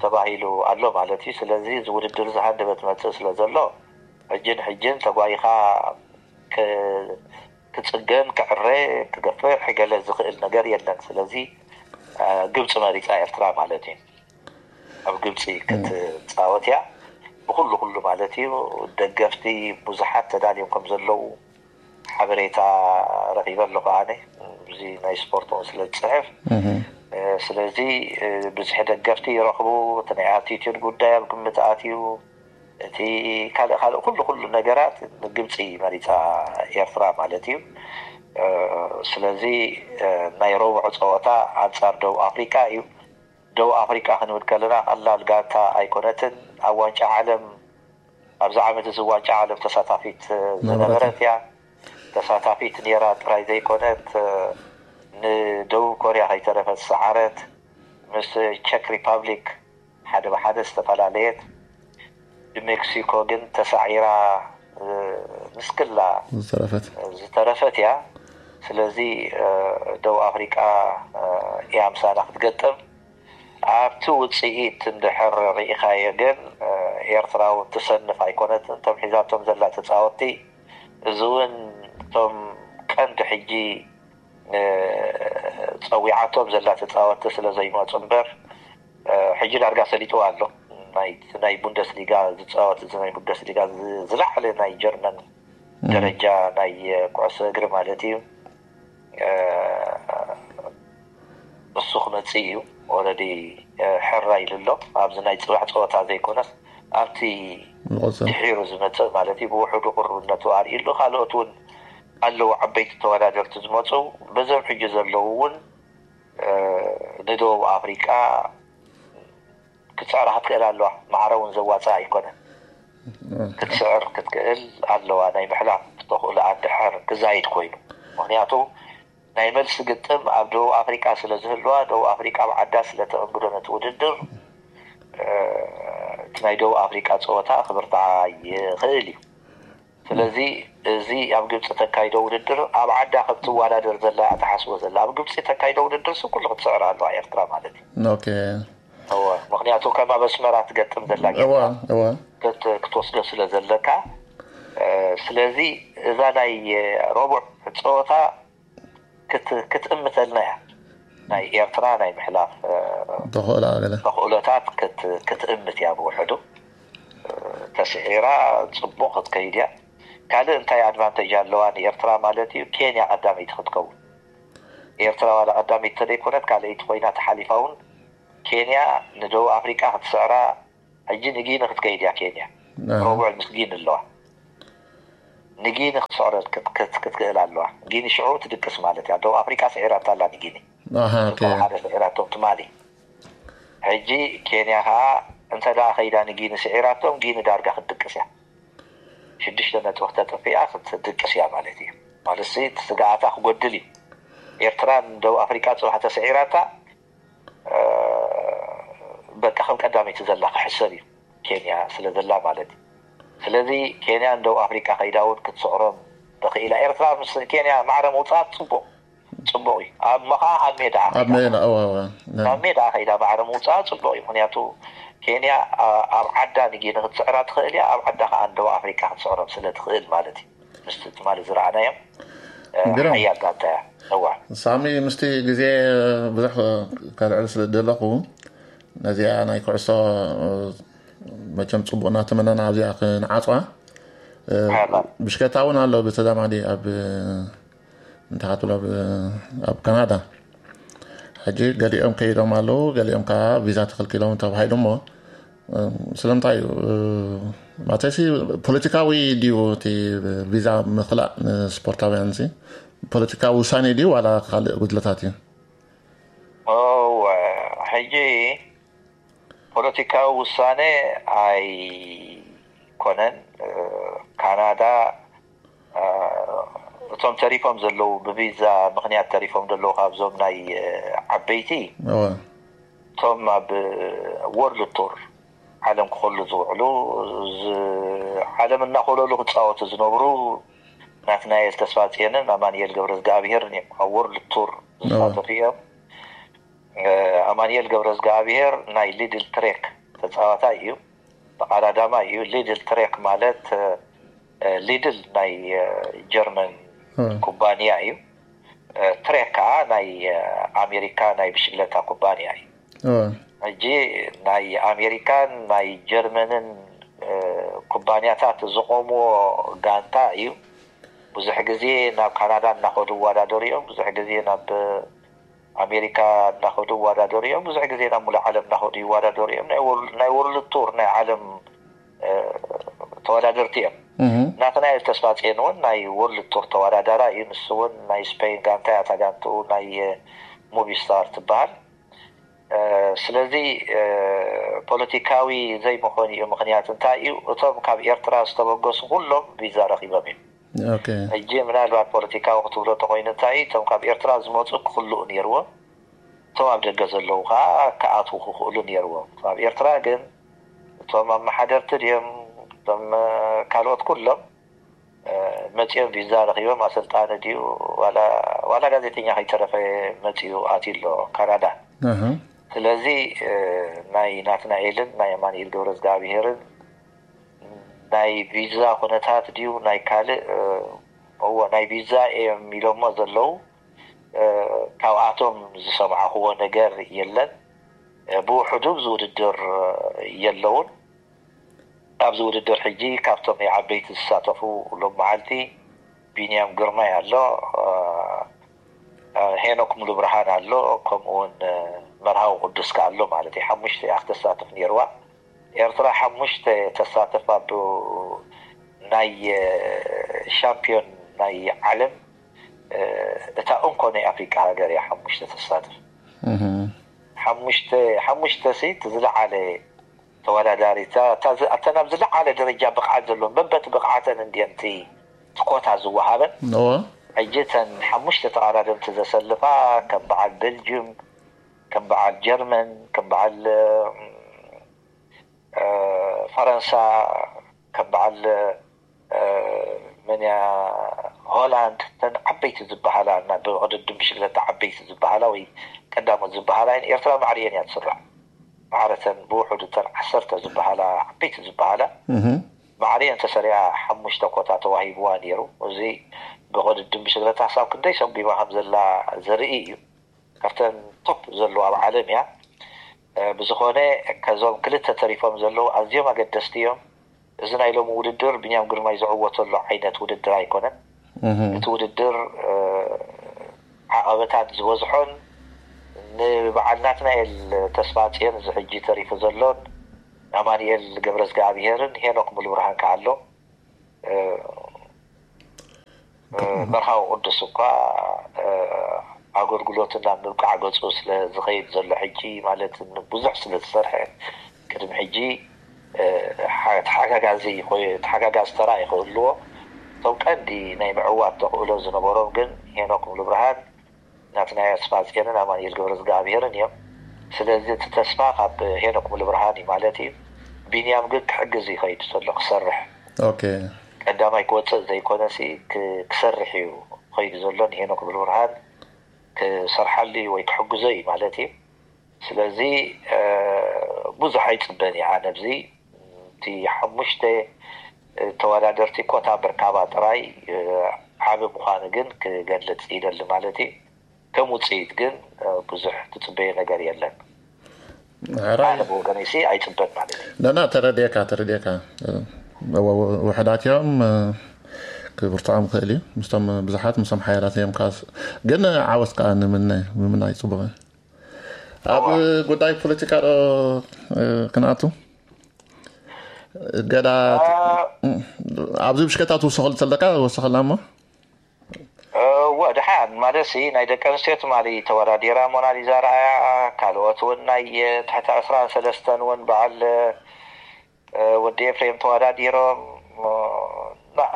ተባሂሉ ኣሎ ማለት እዩ። ስለዚ እዚ ውድድር እዚ ሃንደበት መፅእ ስለ ዘሎ፣ ሕጅን ሕጅን ተጓይኻ ክፅገን፣ ክዕረ፣ ክገፍሕ ገለ ዝኽእል ነገር የለን። ስለዚ ግብፂ መሪፃ ኤርትራ ማለት እዩ። ኣብ ግብፂ ክትፃወት እያ። ብኩሉ ኩሉ ማለት እዩ። ደገፍቲ ብዙሓት ተዳልዮም ከም ዘለዉ ሓበሬታ ረኺበ ኣለኹ ኣነ። እዚ ናይ ስፖርት እውን ስለ ዝፅሕፍ፣ ስለዚ ብዝሒ ደገፍቲ ይረኽቡ። እቲ ናይ ኣቲቲዩድ ጉዳይ ኣብ ግምት ኣትዩ፣ እቲ ካልእ ካልእ ኩሉ ኩሉ ነገራት ግብፂ መሪፃ ኤርትራ ማለት እዩ። ስለዚ ናይ ረቡዕ ፀወታ ኣንፃር ደቡብ ኣፍሪቃ እዩ። ደቡብ ኣፍሪቃ ክንብል ከለና ቀላል ጋንታ ኣይኮነትን። ኣብ ዋንጫ ዓለም፣ ኣብዚ ዓመት እዚ ዋንጫ ዓለም ተሳታፊት ዝነበረት እያ። ተሳታፊት ነይራ ጥራይ ዘይኮነት፣ ንደቡብ ኮርያ ከይተረፈት ዝሰዓረት፣ ምስ ቸክ ሪፓብሊክ ሓደ ብሓደ ዝተፈላለየት፣ ብሜክሲኮ ግን ተሳዒራ ምስክላ ዝተረፈት እያ። ስለዚ ደቡብ ኣፍሪቃ እያ ምሳና ክትገጥም። ኣብቲ ውፅኢት እንድሕር ርኢኻዮ ግን ኤርትራ እውን ትሰንፍ ኣይኮነትን። እቶም ሒዛቶም ዘላ ተፃወትቲ፣ እዚ እውን እቶም ቀንዲ ሕጂ ፀዊዓቶም ዘላ ተፃወትቲ ስለ ዘይመፁ እምበር፣ ሕጂ ዳርጋ ሰሊጥዋ ኣሎ። ናይ ቡንደስሊጋ ዝፃወት፣ እዚ ናይ ቡንደስሊጋ ዝላዕለ ናይ ጀርመን ደረጃ ናይ ኩዕሶ እግሪ ማለት እዩ። እሱ ክመፅእ እዩ። ኦረዲ ሕራ ኢሉ ኣሎ። ኣብዚ ናይ ፅባሕ ፀወታ ዘይኮነስ ኣብቲ ድሒሩ ዝመፅእ ማለት እዩ። ብውሕዱ ቅሩብነቱ ኣርእዩ ኣሎ። ካልኦት እውን ኣለዉ፣ ዓበይቲ ተወዳደርቲ ዝመፁ። በዞም ሕጂ ዘለዉ እውን ንደቡብ ኣፍሪቃ ክትስዕራ ክትክእል ኣለዋ። ማዕረ እውን ዘዋፅእ ኣይኮነን። ክትስዕር ክትክእል ኣለዋ። ናይ ምሕላፍ ተኽእሎ ኣድሕር ክዛይድ ኮይኑ፣ ምክንያቱ ናይ መልሲ ግጥም ኣብ ደቡብ ኣፍሪቃ ስለ ዝህልዋ፣ ደቡብ ኣፍሪቃ ኣብ ዓዳ ስለ ተእንግዶ ነቲ ውድድር፣ እቲ ናይ ደቡብ ኣፍሪቃ ፀወታ ክብርትዓ ይኽእል እዩ። ስለዚ እዚ ኣብ ግብፂ ተካይዶ ውድድር ኣብ ዓዳ ከም ትወዳደር ዘላ እያ ትሓስቦ ዘላ። ኣብ ግብፂ ተካይዶ ውድድር ሲ ኩሉ ክትስዕር ኣለዋ ኤርትራ ማለት እዩ። ኦኬ። እወ፣ ምክንያቱ ከም ኣብ ኣስመራ ትገጥም ዘላ እወ ጌርካ እወ ክት- ክትወስዶ ስለ ዘለካ። ስለዚ እዛ ናይ ረቡዕ ፀወታ ክት- ክትእምተልና እያ። ናይ ኤርትራ ናይ ምሕላፍ ተኽእላ ገለ ተኽእሎታት ክት- ክትእምት እያ። ብውሕዱ ተስዒራ ፅቡቕ ክትከይድ እያ። ካልእ እንታይ ኣድቫንቴጅ ኣለዋ ንኤርትራ ማለት እዩ? ኬንያ ቀዳመይቲ ክትከውን። ኤርትራ ዋላ ቀዳመይቲ ተደይኮነት ካልኣይቲ ኮይና ተሓሊፋ እውን፣ ኬንያ ንደቡብ ኣፍሪቃ ክትስዕራ። ሕጂ ንጊኒ ክትከይድ እያ ኬንያ። ረቡዕ ምስ ጊኒ ኣለዋ። ንጊኒ ክትስዕሮ ክት- ክት- ክትክእል ኣለዋ። ጊኒ ሽዑ ትድቅስ ማለት እያ። ደቡብ ኣፍሪቃ ስዒራታ ኣላ ንጊኒ። ኣሃ ኦኬ ሓደ ስዒራቶም ትማሊ። ሕጂ ኬንያ ከዓ እንተ ደኣ ከይዳ ንጊኒ ስዒራቶም፣ ጊኒ ዳርጋ ክትድቅስ እያ። ሽዱሽተ ነጥቢ ክተጥፍእ እያ፣ ክትድቅስ እያ ማለት እዩ። ማለት ሲ እቲ ስግኣታ ክጎድል እዩ። ኤርትራ ንደቡብ ኣፍሪቃ ጽባሕ ተስዒራታ፣ በቃ ከም ቀዳመይቲ ዘላ ክሕሰብ እዩ፣ ኬንያ ስለ ዘላ ማለት እዩ። ስለዚ ኬንያ ንደቡብ ኣፍሪቃ ከይዳ እውን ክትስዕሮም ተኽኢላ። ኤርትራ ምስ ኬንያ ማዕረ ምውፃእ ፅቡቕ ፅቡቕ እዩ። ኣብ መኻ ኣብ ሜዳ ኣብ ሜዳ እወ እወ ኣብ ሜዳ ከይዳ ማዕረ ምውፃእ ፅቡቕ እዩ። ምክንያቱ ኬንያ ኣብ ዓዳ ንጊኒ ክትስዕራ ትኽእል እያ፣ ኣብ ዓዳ ከዓ ንደቡብ ኣፍሪቃ ክትስዕሮም ስለ ትኽእል ማለት እዩ። ምስቲ ትማሊ ዝረኣናዮም ግርም። ሓያል ጋንታ እያ። እዋ ሳሚ ምስቲ ግዜ ብዙሕ ከልዕል ስለ ዘለኹ ነዚኣ ናይ ኩዕሶ መቸም ፅቡቕ እናተመነና ኣብዚኣ ክንዓፅዋ። ብሽከታ እውን ኣሎ ብተዛማዲ ኣብ እንታይ ክትብሎ ኣብ ካናዳ። ሕጂ ገሊኦም ከይዶም ኣለዉ፣ ገሊኦም ከዓ ቪዛ ተኸልኪሎም ተባሂሉ። እሞ ስለምንታይ እዩ ማለትሲ ፖለቲካዊ ድዩ እቲ ቪዛ ምኽላእ ንስፖርታውያን ሲ ፖለቲካዊ ውሳኔ ድዩ ዋላ ካልእ ጉድለታት እዩ? ሕጂ ፖለቲካዊ ውሳኔ ኣይኮነን። ካናዳ እቶም ተሪፎም ዘለዉ ብቪዛ ምኽንያት ተሪፎም ዘለዉ ካብዞም ናይ ዓበይቲ እቶም ኣብ ወርልድ ቱር ዓለም ክኸሉ ዝውዕሉ ዓለም እናኸለሉ ክፃወቱ ዝነብሩ ናትናኤል ተስፋፅየንን ኣማንኤል ገብረ እግዚኣብሄርን እዮም ኣብ ወርልድ ቱር ዝሳተፉ እዮም። ኣማንኤል ገብረ እግዚኣብሄር ናይ ሊድል ትሬክ ተፃዋታይ እዩ። ተቐዳዳማይ እዩ። ሊድል ትሬክ ማለት ሊድል ናይ ጀርመን ኩባንያ እዩ። ትሬክ ከዓ ናይ ኣሜሪካ ናይ ብሽግለታ ኩባንያ እዩ። ሕጂ ናይ ኣሜሪካን ናይ ጀርመንን ኩባንያታት ዝቆምዎ ጋንታ እዩ። ብዙሕ ግዜ ናብ ካናዳ እናኸዱ ይወዳደሩ እዮም። ብዙሕ ግዜ ናብ ኣሜሪካ እናኸዱ ይወዳደሩ እዮም። ብዙሕ ግዜ ናብ ሙሉእ ዓለም እናኸዱ ይወዳደሩ እዮም። ናይ ወርልድ ቱር ናይ ዓለም ተወዳደርቲ እዮም። ናትናኤል ተስፋፅየን እውን ናይ ወርልድ ቱር ተወዳዳራ እዩ። ንሱ እውን ናይ ስፔን ጋንታ እያ እታ ጋንትኡ ናይ ሙቪስታር ትበሃል። ስለዚ ፖለቲካዊ ዘይምኾን እዩ ምኽንያት እንታይ እዩ? እቶም ካብ ኤርትራ ዝተበገሱ ኩሎም ቪዛ ረኺቦም እዮም። ሕጂ ምናልባት ፖለቲካዊ ክትብሎ ተኮይኑ እንታይ እዩ? እቶም ካብ ኤርትራ ዝመፁ ክኽልኡ ነይርዎም፣ እቶም ኣብ ደገ ዘለዉ ከዓ ክኣትዉ ክኽእሉ ነይርዎም። ኣብ ኤርትራ ግን እቶም ኣመሓደርቲ ድዮም እቶም ካልኦት ኩሎም መፂኦም ቪዛ ረኪቦም ኣሰልጣኒ ድዩ ዋላ ጋዜጠኛ ከይተረፈ መፂኡ ኣትዩ ኣሎ ካናዳ። ስለዚ ናይ ናትናኤልን ናይ ኣማንኤል ገብረ እግዚኣብሄርን ናይ ቪዛ ኩነታት ድዩ ናይ ካልእ እዎ ናይ ቪዛ እዮም ኢሎሞ ዘለዉ። ካብኣቶም ዝሰምዓክዎ ነገር የለን። ብውሕዱ ኣብዚ ውድድር የለውን። ኣብዚ ውድድር ሕጂ ካብቶም ናይ ዓበይቲ ዝሳተፉ ሎም መዓልቲ ቢንያም ግርማይ ኣሎ፣ ሄኖክ ሙሉብርሃን ኣሎ፣ ከምኡውን መርሃዊ ቅዱስ ከ ኣሎ ማለት እዩ። ሓሙሽተ እያ ክተሳትፍ ነይርዋ። ኤርትራ ሓሙሽተ ተሳተፍ ኣብ ናይ ሻምፒዮን ናይ ዓለም እታ እንኮ ናይ ኣፍሪቃ ሃገር እያ ሓሙሽተ ተሳትፍ። ሓሙሽተ ሓሙሽተ ሲ እቲ ዝለዓለ ተወዳዳሪ እተን ኣብ ዝለዓለ ደረጃ ብቕዓት ዘለዎም በበቲ ብቕዓተን እንድየን እቲ ኮታ ዝወሃበን። ሕጂ እተን ሓሙሽተ ተቐዳደምቲ ዘሰልፋ ከም በዓል ቤልጅም፣ ከም በዓል ጀርመን፣ ከም በዓል ፈረንሳ፣ ከም በዓል መን እያ ሆላንድ፣ እተን ዓበይቲ ዝበሃላ እና ብቕድድም ብሽግለታ ዓበይቲ ዝበሃላ ወይ ቀዳሞት ዝበሃላ እየን። ኤርትራ ማዕሪየን እያ ትስራዕ። ማዕረተን ብውሕዱ እተን ዓሰርተ ዝበሃላ ዓበይቲ ዝበሃላ ማዕሪየን ተሰሪዓ ሓሙሽተ ኮታ ተዋሂብዋ ነይሩ። እዚ ብቕድድም ብሽግለታ ክሳብ ክንደይ ሰጒማ ከም ዘላ ዘርኢ እዩ። ካብተን ቶፕ ዘለዋ ኣብ ዓለም እያ። ብዝኾነ ከዞም ክልተ ተሪፎም ዘለዉ ኣዝዮም ኣገደስቲ እዮም። እዚ ናይ ሎሚ ውድድር ቢንያም ግርማይ ዝዕወተሉ ዓይነት ውድድር ኣይኮነን። እቲ ውድድር ዓቐበታት ዝበዝሖን ንበዓል ናትናኤል ተስፋ ጽዮን እዚ ሕጂ ተሪፉ ዘሎን ኣማንኤል ገብረዝግኣብሄርን ሄኖክ ሙሉብርሃን ከኣ ኣሎ። መርሃዊ ቅዱስ እኳ ኣገልግሎቱ ናብ ምብቃዕ ገፁ ስለ ዝኸይድ ዘሎ ሕጂ ማለት ብዙሕ ስለ ዝሰርሐ ቅድሚ ሕጂ ተሓጋጋዚ ተሓጋጋዚ ተራ ይኽህልዎ። እቶም ቀንዲ ናይ ምዕዋት ተኽእሎ ዝነበሮም ግን ሄኖክ ሙሉብርሃን ናትናይ ኣስፋጽዮንን ኣማኑኤል ገብረዝግኣብሄርን እዮም። ስለዚ እቲ ተስፋ ካብ ሄኖክ ሙሉብርሃን እዩ ማለት እዩ። ቢንያም ግን ክሕግዝ ይኸይድ ዘሎ ክሰርሕ። ቀዳማይ ክወፅእ ዘይኮነሲ ክሰርሕ እዩ ኸይዱ ዘሎ። ንሄኖክ ሙሉብርሃን ክሰርሓሉ እዩ ወይ ክሕግዞ እዩ ማለት እዩ። ስለዚ ብዙሕ ኣይፅበን እየ ኣነ ኣብዚ እቲ ሓሙሽተ ተወዳደርቲ ኮታ ምርካባ ጥራይ ዓቢ ምዃኑ ግን ክገልጽ ይደሊ ማለት እዩ። ከም ውፅኢት ግን ብዙሕ ትፅበዮ ነገር የለን። ኣነ ብወገነይሲ ኣይፅበን ማለት እዩ። ናና ተረድኤካ ተረድኤካ ውሕዳት እዮም። ክብርትዖም ክእል እዩ ምስቶም ብዙሓት ምስቶም ሓያላት እዮም። ካስ ግን ዓወት ከዓ ንምነ ምምናይ ፅቡቅ እዩ። ኣብ ጉዳይ ፖለቲካ ዶ ክንኣቱ? ገዳ ኣብዚ ብሽከታ ትውስኸሉ ተለካ ወስኸልና እሞ እወ ድሓን ማለት ሲ ናይ ደቂ ኣንስትዮ ትማሊ ተወዳዲራ ሞናሊዛ ረኣያ። ካልኦት እውን ናይ ትሕቲ ዕስራን ሰለስተን እውን በዓል ወዲ ኤፍሬም ተወዳዲሮም።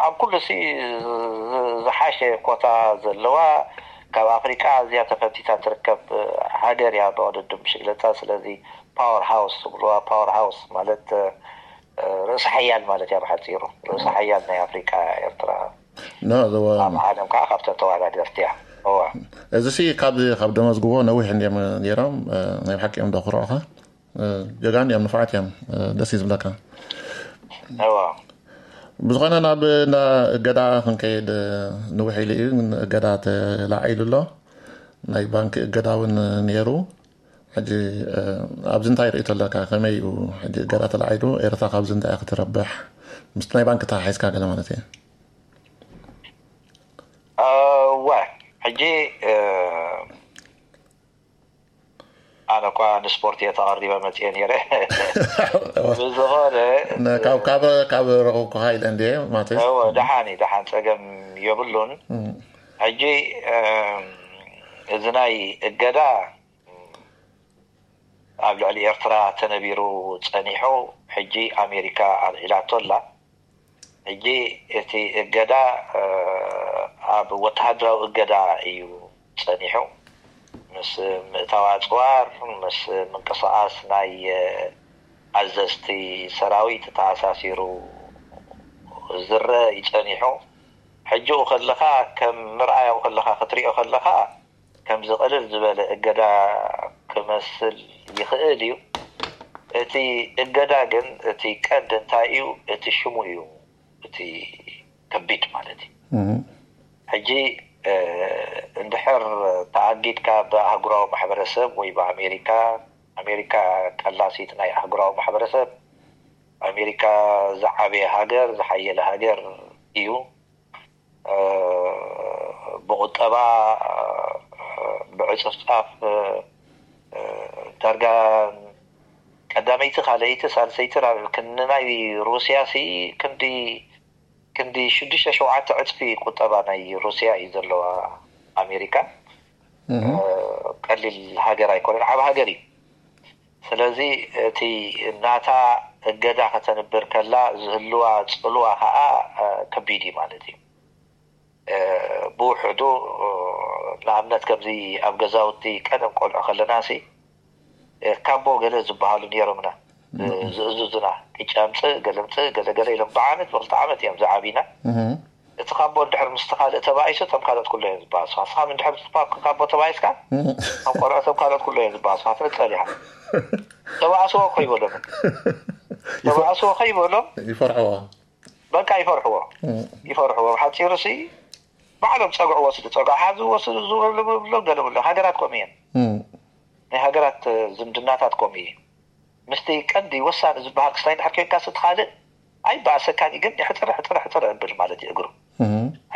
ኣብ ኩሉ ሲ ዝሓሸ ኮታ ዘለዋ ካብ ኣፍሪቃ ኣዝያ ተፈቲታ ትርከብ ሃገር እያ ብቅድድም ብሽግለታ። ስለዚ ፓወር ሃውስ ትብልዋ፣ ፓወር ሃውስ ማለት ርእሲ ሓያል ማለት እያ ብሓፂሩ። ርእሲ ሓያል ናይ ኣፍሪቃ ኤርትራ። ኣብ ዓለም ከዓ ካብተን ተወዳደርቲ እያ። እዋ እዚ ሲ ካብዚ ካብ ደመዝግቦ ነዊሕ እንዲዮም ነይሮም። ናይ ብሓቂ እዮም ደኩርዑኻ። ጀጋን እዮም፣ ንፉዓት እዮም። ደስ እዩ ዝብለካ። እዋ ብዝኾነ ናብ እንዳ እገዳ ክንከይድ ንውሕ ኢሉ እዩ። እገዳ ተላዒሉ ኣሎ። ናይ ባንክ እገዳ እውን ነይሩ። ሕጂ ኣብዚ እንታይ ርእቶ ኣለካ? ከመይ እዩ ሕጂ እገዳ ተላዒሉ? ኤርትራ ካብዚ እንታይ ክትረብሕ? ምስቲ ናይ ባንክ ተሓሒዝካ ገለ ማለት እየ። እዋ ሕጂ ኣነ እኳ ንስፖርት እየ ተቐሪበ መፅየ ነይረ። ብዝኾነ ካብ ካብ ካብ ረኸብኩኻ ኢለ እንድየ ማለት እዩ። እወ ደሓን እዩ፣ ደሓን ፀገም የብሉን። ሕጂ እዚ ናይ እገዳ ኣብ ልዕሊ ኤርትራ ተነቢሩ ፀኒሑ፣ ሕጂ ኣሜሪካ ኣልዒላቶ ኣላ። ሕጂ እቲ እገዳ ኣብ ወተሃደራዊ እገዳ እዩ ፀኒሑ። ምስ ምእታው ኣፅዋር፣ ምስ ምንቅስቃስ ናይ ኣዘዝቲ ሰራዊት ተኣሳሲሩ ዝረአ እዩ ፀኒሑ። ሕጂ ከለኻ ከም ምርኣያው ከለኻ ክትሪኦ ከለኻ ከምዚ ቅልል ዝበለ እገዳ ክመስል ይኽእል እዩ። እቲ እገዳ ግን እቲ ቀንዲ እንታይ እዩ? እቲ ሽሙ እዩ እቲ ከቢድ ማለት እዩ። ሕጂ እንድሕር ተኣጊድካ ብኣህጉራዊ ማሕበረሰብ ወይ ብኣሜሪካ፣ ኣሜሪካ ቀላሲት ናይ ኣህጉራዊ ማሕበረሰብ፣ ኣሜሪካ ዝዓበየ ሃገር፣ ዝሓየለ ሃገር እዩ። ብቁጠባ ብዕፅፍፃፍ ዳርጋ ቀዳመይቲ፣ ካልኣይቲ፣ ሳልሰይቲ ንናይ ሩስያ ሲ ክንዲ ክንዲ ሽዱሽተ ሸውዓተ ዕፅፊ ቁጠባ ናይ ሩስያ እዩ ዘለዋ ኣሜሪካ። ቀሊል ሃገር ኣይኮነን፣ ዓብ ሃገር እዩ። ስለዚ እቲ ናታ እገዳ ከተንብር ከላ ዝህልዋ ፅልዋ ከዓ ከቢድ እዩ ማለት እዩ። ብውሕዱ ንኣብነት ከምዚ ኣብ ገዛውቲ ቀደም ቆልዑ ከለና ሲ ካቦ ገለ ዝበሃሉ ነይሮምና። ዝእዝዙና ቅጫ ምፅእ ገለ ምፅእ ገለ ገለ ኢሎም ብዓመት ብክልተ ዓመት እዮም ዝዓብና። እቲ ካቦ እንድሕር ምስቲ ካልእ ተባኢሱ እቶም ካልኦት ኩሎ እዮም ዝበኣሱኻ። ንስኻ እንድሕር ምስቲ ካቦ ተባኢስካ እቶም ቆልዑ እቶም ካልኦት ኩሎ እዮም ዝበኣሱኻ። ትንፀል ኢኻ። ተባእስዎ እኮ ይበሎም። ተባእስዎ ከይበሎም ይፈርሕዎ። በቃ ይፈርሕዎ። ይፈርሕዎ። ብሓፂሩ ሲ ባዕሎም ፀግዑ ወስዱ፣ ፀግዑ ሓዙ ወስዱ፣ ዝብሎም ገለ ብሎ ሃገራት ከምኡ እየን። ናይ ሃገራት ዝምድናታት ከምኡ እዩ። ምስቲ ቀንዲ ወሳኒ ዝበሃል ክስታይ እንድሕር ኮይንካ ስትኻልእ ኣይበኣሰካን እዩ፣ ግን ሕፅር ሕፅር ሕፅር እብል ማለት እዩ እግሩ።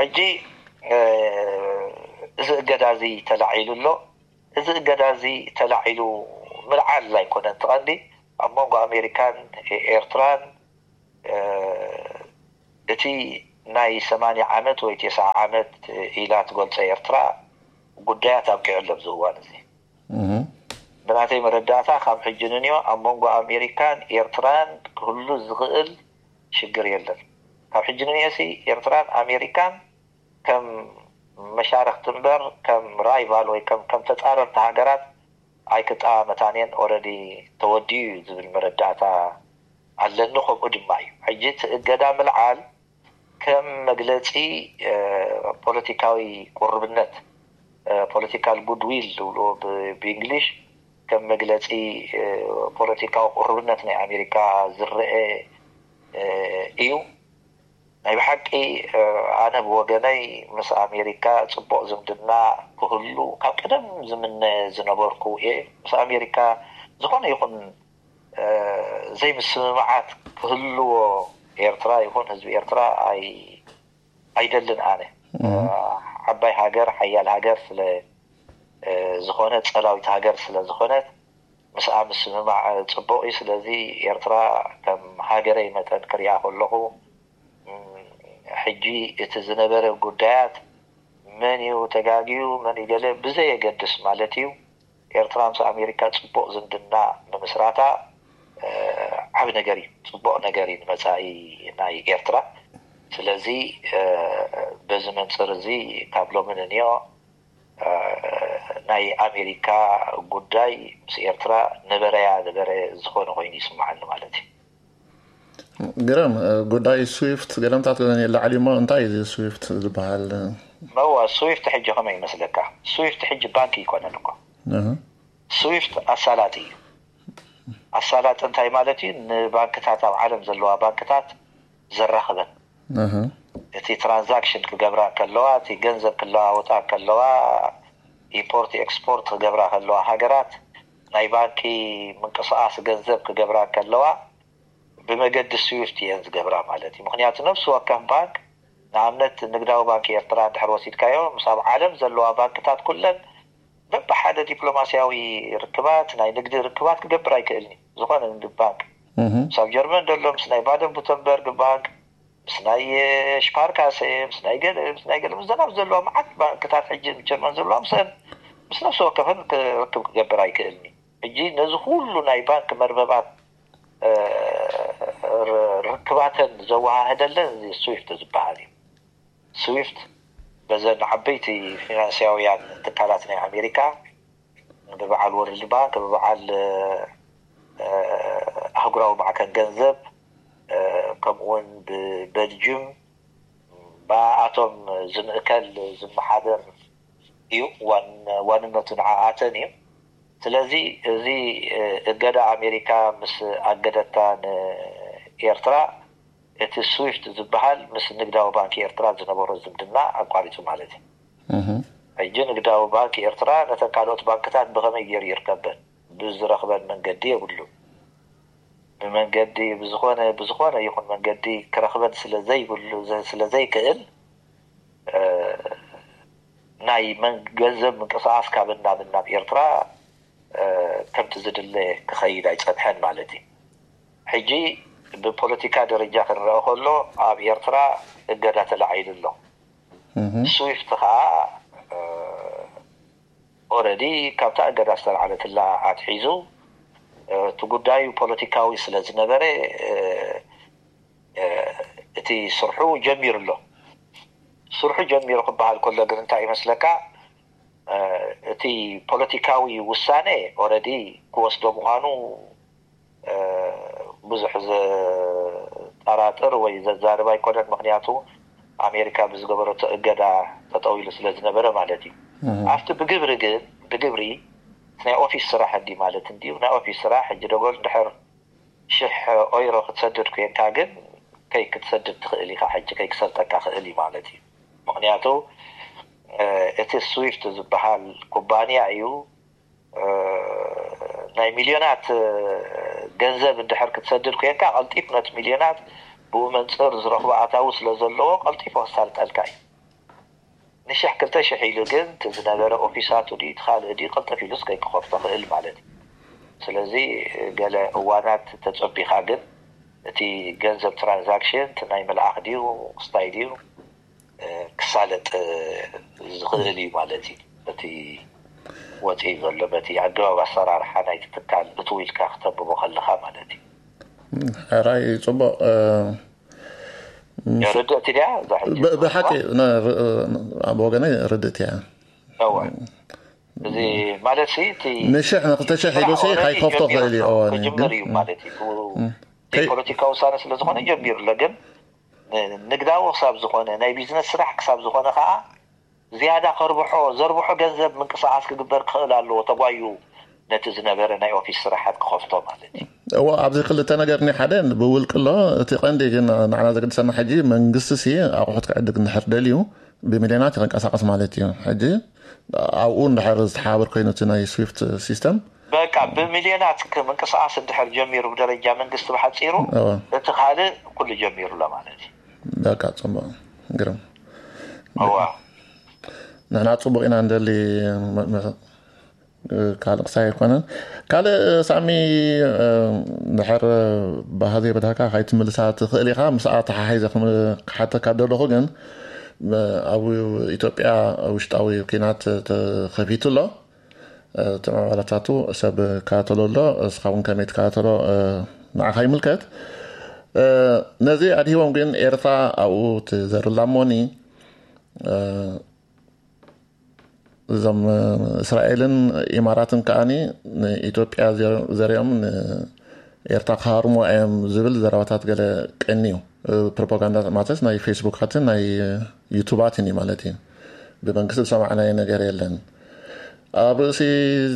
ሕጂ እዚ እገዳ እዚ ተላዒሉ ኣሎ። እዚ እገዳ እዚ ተላዒሉ ምልዓል ኣይኮነን እቲ ቀንዲ። ኣብ መንጎ ኣሜሪካን ኤርትራን እቲ ናይ ሰማንያ ዓመት ወይ ቴስዓ ዓመት ኢላ ትገልጾ ኤርትራ ጉዳያት ኣብቂዑ ኣሎ ኣብዚ እዋን እዚ። ብናተይ መረዳእታ ካብ ሕጂ ንንዮ ኣብ መንጎ ኣሜሪካን ኤርትራን ክህሉ ዝኽእል ሽግር የለን። ካብ ሕጂ ንንዮ ሲ ኤርትራን ኣሜሪካን ከም መሻርክቲ እምበር ከም ራይቫል ወይ ከም ከም ተፃረርቲ ሃገራት ኣይክጠማመታን እየን። ኦረዲ ተወዲኡ እዩ ዝብል መረዳእታ ኣለኒ። ከምኡ ድማ እዩ። ሕጂ እቲ እገዳ ምልዓል ከም መግለፂ ፖለቲካዊ ቁርብነት፣ ፖለቲካል ጉድዊል ዝብልዎ ብእንግሊሽ፣ ከም መግለፂ ፖለቲካዊ ቁርብነት ናይ ኣሜሪካ ዝረአ እዩ። ናይ ብሓቂ ኣነ ብወገነይ ምስ ኣሜሪካ ፅቡቕ ዝምድና ክህሉ ካብ ቀደም ዝምነ ዝነበርኩ እየ። ምስ ኣሜሪካ ዝኾነ ይኹን ዘይምስምማዓት ክህልዎ ኤርትራ ይኹን ህዝቢ ኤርትራ ኣይ ኣይደልን። ኣነ ዓባይ ሃገር፣ ሓያል ሃገር ስለ ዝኾነ፣ ጸላዊት ሃገር ስለ ዝኾነት፣ ምስኣ ምስምማዕ ጽቡቕ እዩ። ስለዚ ኤርትራ ከም ሃገረይ መጠን ክሪኣ ከለኹ፣ ሕጂ እቲ ዝነበረ ጉዳያት መን እዩ ተጋግዩ፣ መን እዩ ገለ ብዘየገድስ ማለት እዩ፣ ኤርትራ ምስ ኣሜሪካ ጽቡቕ ዝምድና ንምስራታ ዓቢ ነገር እዩ፣ ጽቡቕ ነገር እዩ ንመጻኢ ናይ ኤርትራ። ስለዚ በዚ መንጽር እዚ ካብ ሎሚ ንንዮ ናይ ኣሜሪካ ጉዳይ ምስ ኤርትራ ነበረያ ነበረ ዝኾነ ኮይኑ ይስምዓኒ ማለት እዩ። ግረም ጉዳይ ስዊፍት ገለምታት ገለ የላዕል እሞ እንታይ እዩ ስዊፍት ዝበሃል? መዋ ስዊፍት ሕጂ ከመይ ይመስለካ? ስዊፍት ሕጂ ባንክ ይኮነን እኮ። ስዊፍት ኣሳላጢ እዩ። ኣሳላጢ እንታይ ማለት እዩ? ንባንክታት ኣብ ዓለም ዘለዋ ባንክታት ዘራኽበን፣ እቲ ትራንዛክሽን ክገብራ ከለዋ፣ እቲ ገንዘብ ክለዋወጣ ከለዋ፣ ኢምፖርት ኤክስፖርት ክገብራ ከለዋ፣ ሃገራት ናይ ባንኪ ምንቅስቃስ ገንዘብ ክገብራ ከለዋ ብመገዲ ስዊፍት እየን ዝገብራ ማለት እዩ። ምክንያቱ ነፍሲ ወከፍ ባንክ፣ ንኣብነት ንግዳዊ ባንክ ኤርትራ እንድሕር ወሲድካዮ፣ ምስ ኣብ ዓለም ዘለዋ ባንክታት ኩለን በብሓደ ዲፕሎማሲያዊ ርክባት፣ ናይ ንግዲ ርክባት ክገብር ኣይክእልን እዩ። ዝኾነ ንግዲ ባንክ ምስ ኣብ ጀርመን ዘሎ ምስ ናይ ባደን ቡተንበርግ ባንክ፣ ምስ ናይ ሽፓርካሰ፣ ምስ ናይ ገለ ምስ ናይ ገለ ምስ ዘናብ ዘለዋ መዓት ባንክታት ሕጂ ጀርመን ዘለዋ ምስአን ምስ ነፍሲ ወከፈን ክርክብ ክገብር ኣይክእልን እዩ። ሕጂ ነዚ ኩሉ ናይ ባንክ መርበባት ርክባተን ዘወሃህደለን እዚ ስዊፍት ዝበሃል እዩ። ስዊፍት በዘን ዓበይቲ ፊናንስያውያን ትካላት ናይ ኣሜሪካ፣ ብበዓል ወርልድ ባንክ፣ ብበዓል ኣህጉራዊ ማዕከን ገንዘብ፣ ከምኡውን ብበልጅም ብኣቶም ዝምእከል ዝመሓደር እዩ። ዋንነቱ ንዓኣተን እዩ። ስለዚ እዚ እገዳ ኣሜሪካ ምስ ኣገደታ ንኤርትራ፣ እቲ ስዊፍት ዝበሃል ምስ ንግዳዊ ባንክ ኤርትራ ዝነበሮ ዝምድና ኣቋሪጹ ማለት እዩ። ሕጂ ንግዳዊ ባንክ ኤርትራ ነተን ካልኦት ባንክታት ብኸመይ ገይሩ ይርከበን? ብዝረኽበን መንገዲ የብሉ። ብመንገዲ ብዝኾነ ብዝኾነ ይኹን መንገዲ ክረኽበን ስለ ዘይብሉ ስለ ዘይክእል፣ ናይ ገንዘብ ምንቅስቃስ ካብን ናብን ናብ ኤርትራ ከምቲ ዝድለ ክኸይድ ኣይጸንሐን ማለት እዩ። ሕጂ ብፖለቲካ ደረጃ ክንረአ ከሎ ኣብ ኤርትራ እገዳ ተላዒሉ ኣሎ። ስዊፍት ከዓ ኦረዲ ካብታ እገዳ ዝተላዓለትላ ኣትሒዙ እቲ ጉዳዩ ፖለቲካዊ ስለ ዝነበረ እቲ ስርሑ ጀሚሩ ኣሎ። ስርሑ ጀሚሩ ክበሃል ከሎ ግን እንታይ ይመስለካ? እቲ ፖለቲካዊ ውሳነ ኦረዲ ክወስዶ ምዃኑ ብዙሕ ዘጠራጥር ወይ ዘዛርብ ኣይኮነን። ምክንያቱ ኣሜሪካ ብዝገበረቶ እገዳ ተጠዊሉ ስለ ዝነበረ ማለት እዩ። ኣብቲ ብግብሪ ግን ብግብሪ ናይ ኦፊስ ስራሕ እንዲ ማለት እንዲዩ ናይ ኦፊስ ስራሕ ሕጂ ደጎል እንድሕር ሽሕ ኦይሮ ክትሰድድ ኮይንካ ግን ከይ ክትሰድድ ትኽእል ኢኻ። ሕጂ ከይ ክሰልጠካ ክእል እዩ ማለት እዩ። ምክንያቱ እቲ ስዊፍት ዝበሃል ኩባንያ እዩ። ናይ ሚልዮናት ገንዘብ እንድሕር ክትሰድድ ኮይንካ ቀልጢፍ ነቲ ሚልዮናት ብኡ መንፅር ዝረኽቦ ኣታዊ ስለ ዘለዎ ቀልጢፉ ክሳልጠልካ እዩ። ንሽሕ ክልተ ሽሕ ኢሉ ግን እቲ ዝነበረ ኦፊሳቱ ድዩ እቲ ካልእ ድዩ ቅልጥፍ ኢሉስ ከይክኸፍቶ ክእል ማለት እዩ። ስለዚ ገለ እዋናት ተጸቢኻ ግን እቲ ገንዘብ ትራንዛክሽን እቲ ናይ መልኣኽ ድዩ ክስታይ ድዩ ክሳለጥ ዝኽእል እዩ ማለት እዩ። እቲ ወፂኡ ዘሎ በቲ ኣገባብ ኣሰራርሓ ናይቲ ትካል እትው ኢልካ ክተንብቦ ከለኻ ማለት እዩ። ሕራይ ፅቡቕ ርድእቲ ድያ እዛ ሕጂ ብሓቂ ኣብ ወገነይ ርድእቲ እያ። እዋ እዚ ማለት ሲ እቲ ንሽሕ ንክልተ ሽሕ ኢሉ ሲ ካይከፍቶ ክእል እዩ። እዋን እዩ ክጅምር እዩ ማለት እዩ። እቲ ፖለቲካ ውሳነ ስለ ዝኾነ ጀሚሩ ኣሎ። ግን ንግዳዊ ክሳብ ዝኾነ ናይ ቢዝነስ ስራሕ ክሳብ ዝኾነ ከዓ ዝያዳ ከርብሖ ዘርብሖ ገንዘብ ምንቅስቃስ ክግበር ክኽእል ኣለዎ ተጓዩ ነቲ ዝነበረ ናይ ኦፊስ ስራሓት ክኸፍቶ ማለት እዩ። እዎ ኣብዚ ክልተ ነገር ናይ ሓደ ብውልቂ ኣሎ። እቲ ቀንዲ ግን ንዓና ዘገድሰና ሕጂ መንግስቲ ሲ ኣቑሑት ክዕድግ እንድሕር ደልዩ ብሚልዮናት ይንቀሳቀስ ማለት እዩ። ሕጂ ኣብኡ እንድሕር ዝተሓባበር ኮይኑ እቲ ናይ ስዊፍት ሲስተም በቃ ብሚልዮናት ምንቅስቃስ እንድሕር ጀሚሩ ብደረጃ መንግስቲ ብሓፂሩ፣ እቲ ካልእ ኩሉ ጀሚሩ ኣሎ ማለት እዩ። በቃ ፅቡቅ ግርም። እዋ ንሕና ፅቡቅ ኢና እንደሊ። ካልእ ክሳይ ኣይኮነን። ካልእ ሳሚ፣ ድሕር ባህዚ በታካ ካይትምልሳ ትኽእል ኢኻ። ምስኣ ተሓሒዘ ክሓተካ ደለኹ ግን፣ ኣብ ኢትዮጵያ ውሽጣዊ ኪናት ተኸፊቱ ኣሎ። እቲ ምዕባለታቱ ሰብ ካተሎ ኣሎ። እስኻ እውን ከመይ ትካተሎ ንዓኻ ይምልከት። ነዚ ኣድሂቦም ግን ኤርትራ ኣብኡ ትዘርላ እሞኒ፣ እዞም እስራኤልን ኢማራትን ከዓኒ ንኢትዮጵያ ዘሪኦም ንኤርትራ ክሃርሞ እዮም ዝብል ዘረባታት ገለ ቀኒ እዩ። ፕሮፓጋንዳ ማለት ናይ ፌስቡካትን ናይ ዩቱባትን እዩ ማለት እዩ። ብመንግስቲ ዝሰማዕናዮ ነገር የለን። ኣብ ርእሲ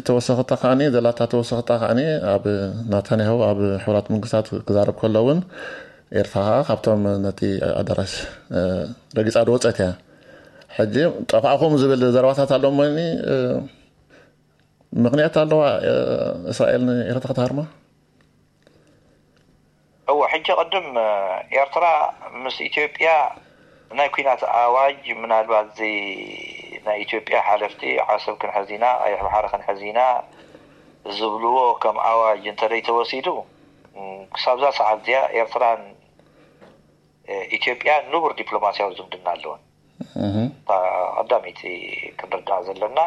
ተወሰኽታ ከዓኒ ዘላታ ተወሰኽታ ከዓኒ ኣብ ናታንያሁ ኣብ ሕቡራት መንግስታት ክዛረብ ከሎ እውን ኤርትራ ከዓ ካብቶም ነቲ ኣዳራሽ ረጊፃ ዝወፀት እያ። ሕጂ ጠፋእኹም ዝብል ዘረባታት ኣሎ እሞኒ ምኽንያት ኣለዋ እስራኤል ንኤርትራ ክትሃርማ? እወ፣ ሕጂ ቅድም ኤርትራ ምስ ኢትዮጵያ ናይ ኩናት ኣዋጅ ምናልባት እዚ ናይ ኢትዮጵያ ሓለፍቲ ዓሰብ ክንሕዝ ኢና፣ ቀይሕ ባሕሪ ክንሕዝ ኢና ዝብልዎ ከም ኣዋጅ እንተደይ ተወሲዱ ክሳብዛ ሰዓት እዚኣ ኤርትራን ኢትዮጵያ ንቡር ዲፕሎማሲያዊ ዝምድና ኣለወን። ቀዳመይቲ ክንርዳእ ዘለና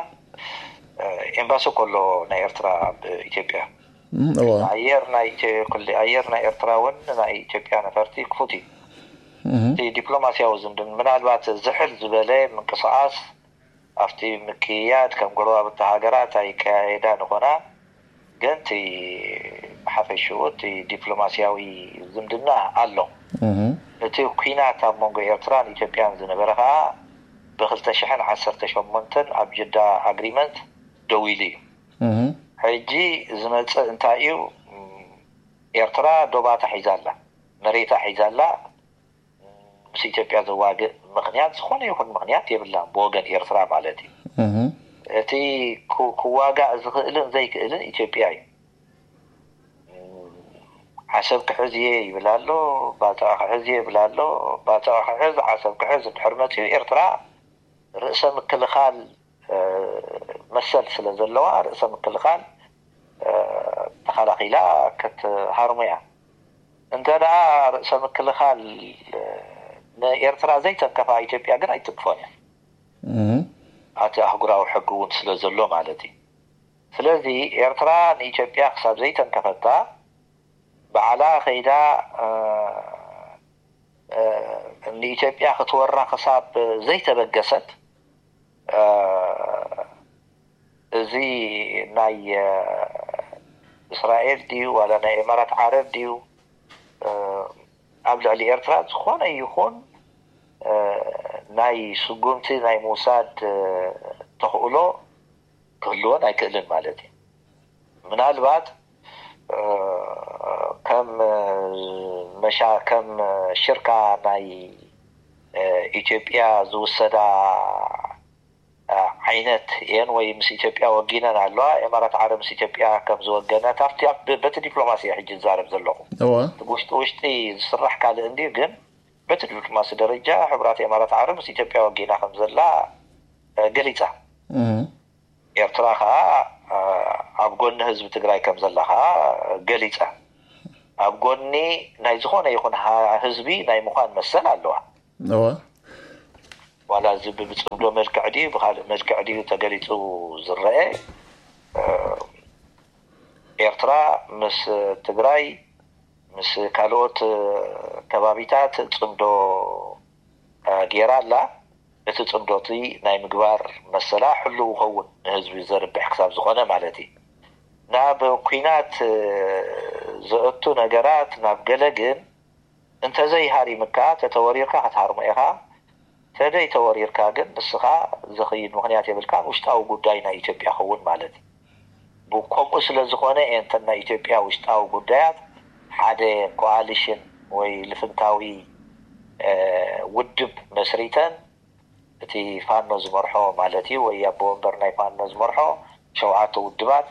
ኤምባሲ ከሎ ናይ ኤርትራ ኣብ ኢትዮጵያ ኣየር ናይ ኣየር ናይ ኤርትራ እውን ናይ ኢትዮጵያ ነፈርቲ ክፉት እዩ። እቲ ዲፕሎማሲያዊ ዝምድን ምናልባት ዝሕል ዝበለ ምንቅስቃስ ኣብቲ ምክያድ ከም ጎረባብቲ ሃገራት ኣይከያየዳ ንኾና ግን እቲ ብሓፈሽኡ እቲ ዲፕሎማሲያዊ ዝምድና ኣሎ። እቲ ኩናት ኣብ መንጎ ኤርትራን ኢትዮጵያን ዝነበረ ከዓ ብክልተ ሽሕን ዓሰርተ ሸሞንተን ኣብ ጅዳ ኣግሪመንት ደው ኢሉ እዩ። ሕጂ ዝመፅእ እንታይ እዩ? ኤርትራ ዶባታ ሒዛ ኣላ፣ መሬታ ሒዛ ኣላ። ምስ ኢትዮጵያ ዘዋግእ ምኽንያት ዝኾነ ይኹን ምኽንያት የብላን ብወገን ኤርትራ ማለት እዩ። እቲ ክዋጋእ ዝኽእልን ዘይክእልን ኢትዮጵያ እዩ። ዓሰብ ክሕዝ እየ ይብል ኣሎ፣ ባጽዕ ክሕዝ እየ ይብል ኣሎ። ባጽዕ ክሕዝ ዓሰብ ክሕዝ እንድሕር መጺኡ ኤርትራ ርእሰ ምክልኻል መሰል ስለ ዘለዋ ርእሰ ምክልኻል ተኸላኺላ ክትሃርሞ እያ። እንተ ደኣ ርእሰ ምክልኻል ንኤርትራ ዘይተንከፋ ኢትዮጵያ ግን ኣይትንክፎን እያ። እቲ ኣህጉራዊ ሕጊ እውን ስለ ዘሎ ማለት እዩ። ስለዚ ኤርትራ ንኢትዮጵያ ክሳብ ዘይተንከፈታ ባዕላ ከይዳ ንኢትዮጵያ ክትወራ ክሳብ ዘይተበገሰት እዚ ናይ እስራኤል ድዩ ዋላ ናይ ኢማራት ዓረብ ድዩ ኣብ ልዕሊ ኤርትራ ዝኾነ ይኹን ናይ ስጉምቲ ናይ ምውሳድ ተኽእሎ ክህልወን ኣይክእልን ማለት እዩ። ምናልባት ከም መሻ ከም ሽርካ ናይ ኢትዮጵያ ዝውሰዳ ዓይነት እየን ወይ ምስ ኢትዮጵያ ወጊነን ኣለዋ። ኢማራት ዓረብ ምስ ኢትዮጵያ ከም ዝወገነት ኣብቲ በቲ ዲፕሎማሲ ሕጂ ዝዛረብ ዘለኹ ውሽጢ ውሽጢ ዝስራሕ ካልእ እንድዩ፣ ግን በቲ ዲፕሎማሲ ደረጃ ሕቡራት ኢማራት ዓረብ ምስ ኢትዮጵያ ወጊና ከም ዘላ ገሊፃ። ኤርትራ ከዓ ኣብ ጎኒ ህዝቢ ትግራይ ከም ዘላ ከዓ ገሊፃ። ኣብ ጎኒ ናይ ዝኾነ ይኹን ህዝቢ ናይ ምዃን መሰል ኣለዋ። ዋላ እዚ ብፅምዶ መልክዕ ድዩ ብካልእ መልክዕ ድዩ ተገሊፁ ዝረአ፣ ኤርትራ ምስ ትግራይ ምስ ካልኦት ከባቢታት ፅምዶ ገይራ ኣላ። እቲ ፅምዶ እቲ ናይ ምግባር መሰላ ሕሉው ይኸውን ንህዝቢ ዘርብሕ ክሳብ ዝኾነ ማለት እዩ። ናብ ኩናት ዘእቱ ነገራት ናብ ገለ ግን እንተዘይሃሪምካ ተተወሪርካ ክትሃርሞ ኢኻ። ተደይ ተወሪርካ ግን ንስኻ ዝኽይድ ምኽንያት የብልካን። ውሽጣዊ ጉዳይ ናይ ኢትዮጵያ ክውን ማለት እዩ። ከምኡ ስለ ዝኾነ እየን እተን ናይ ኢትዮጵያ ውሽጣዊ ጉዳያት ሓደ ኮኣሊሽን ወይ ልፍንታዊ ውድብ መስሪተን እቲ ፋኖ ዝመርሖ ማለት እዩ ወይ ኣቦ ወንበር ናይ ፋኖ ዝመርሖ ሸውዓተ ውድባት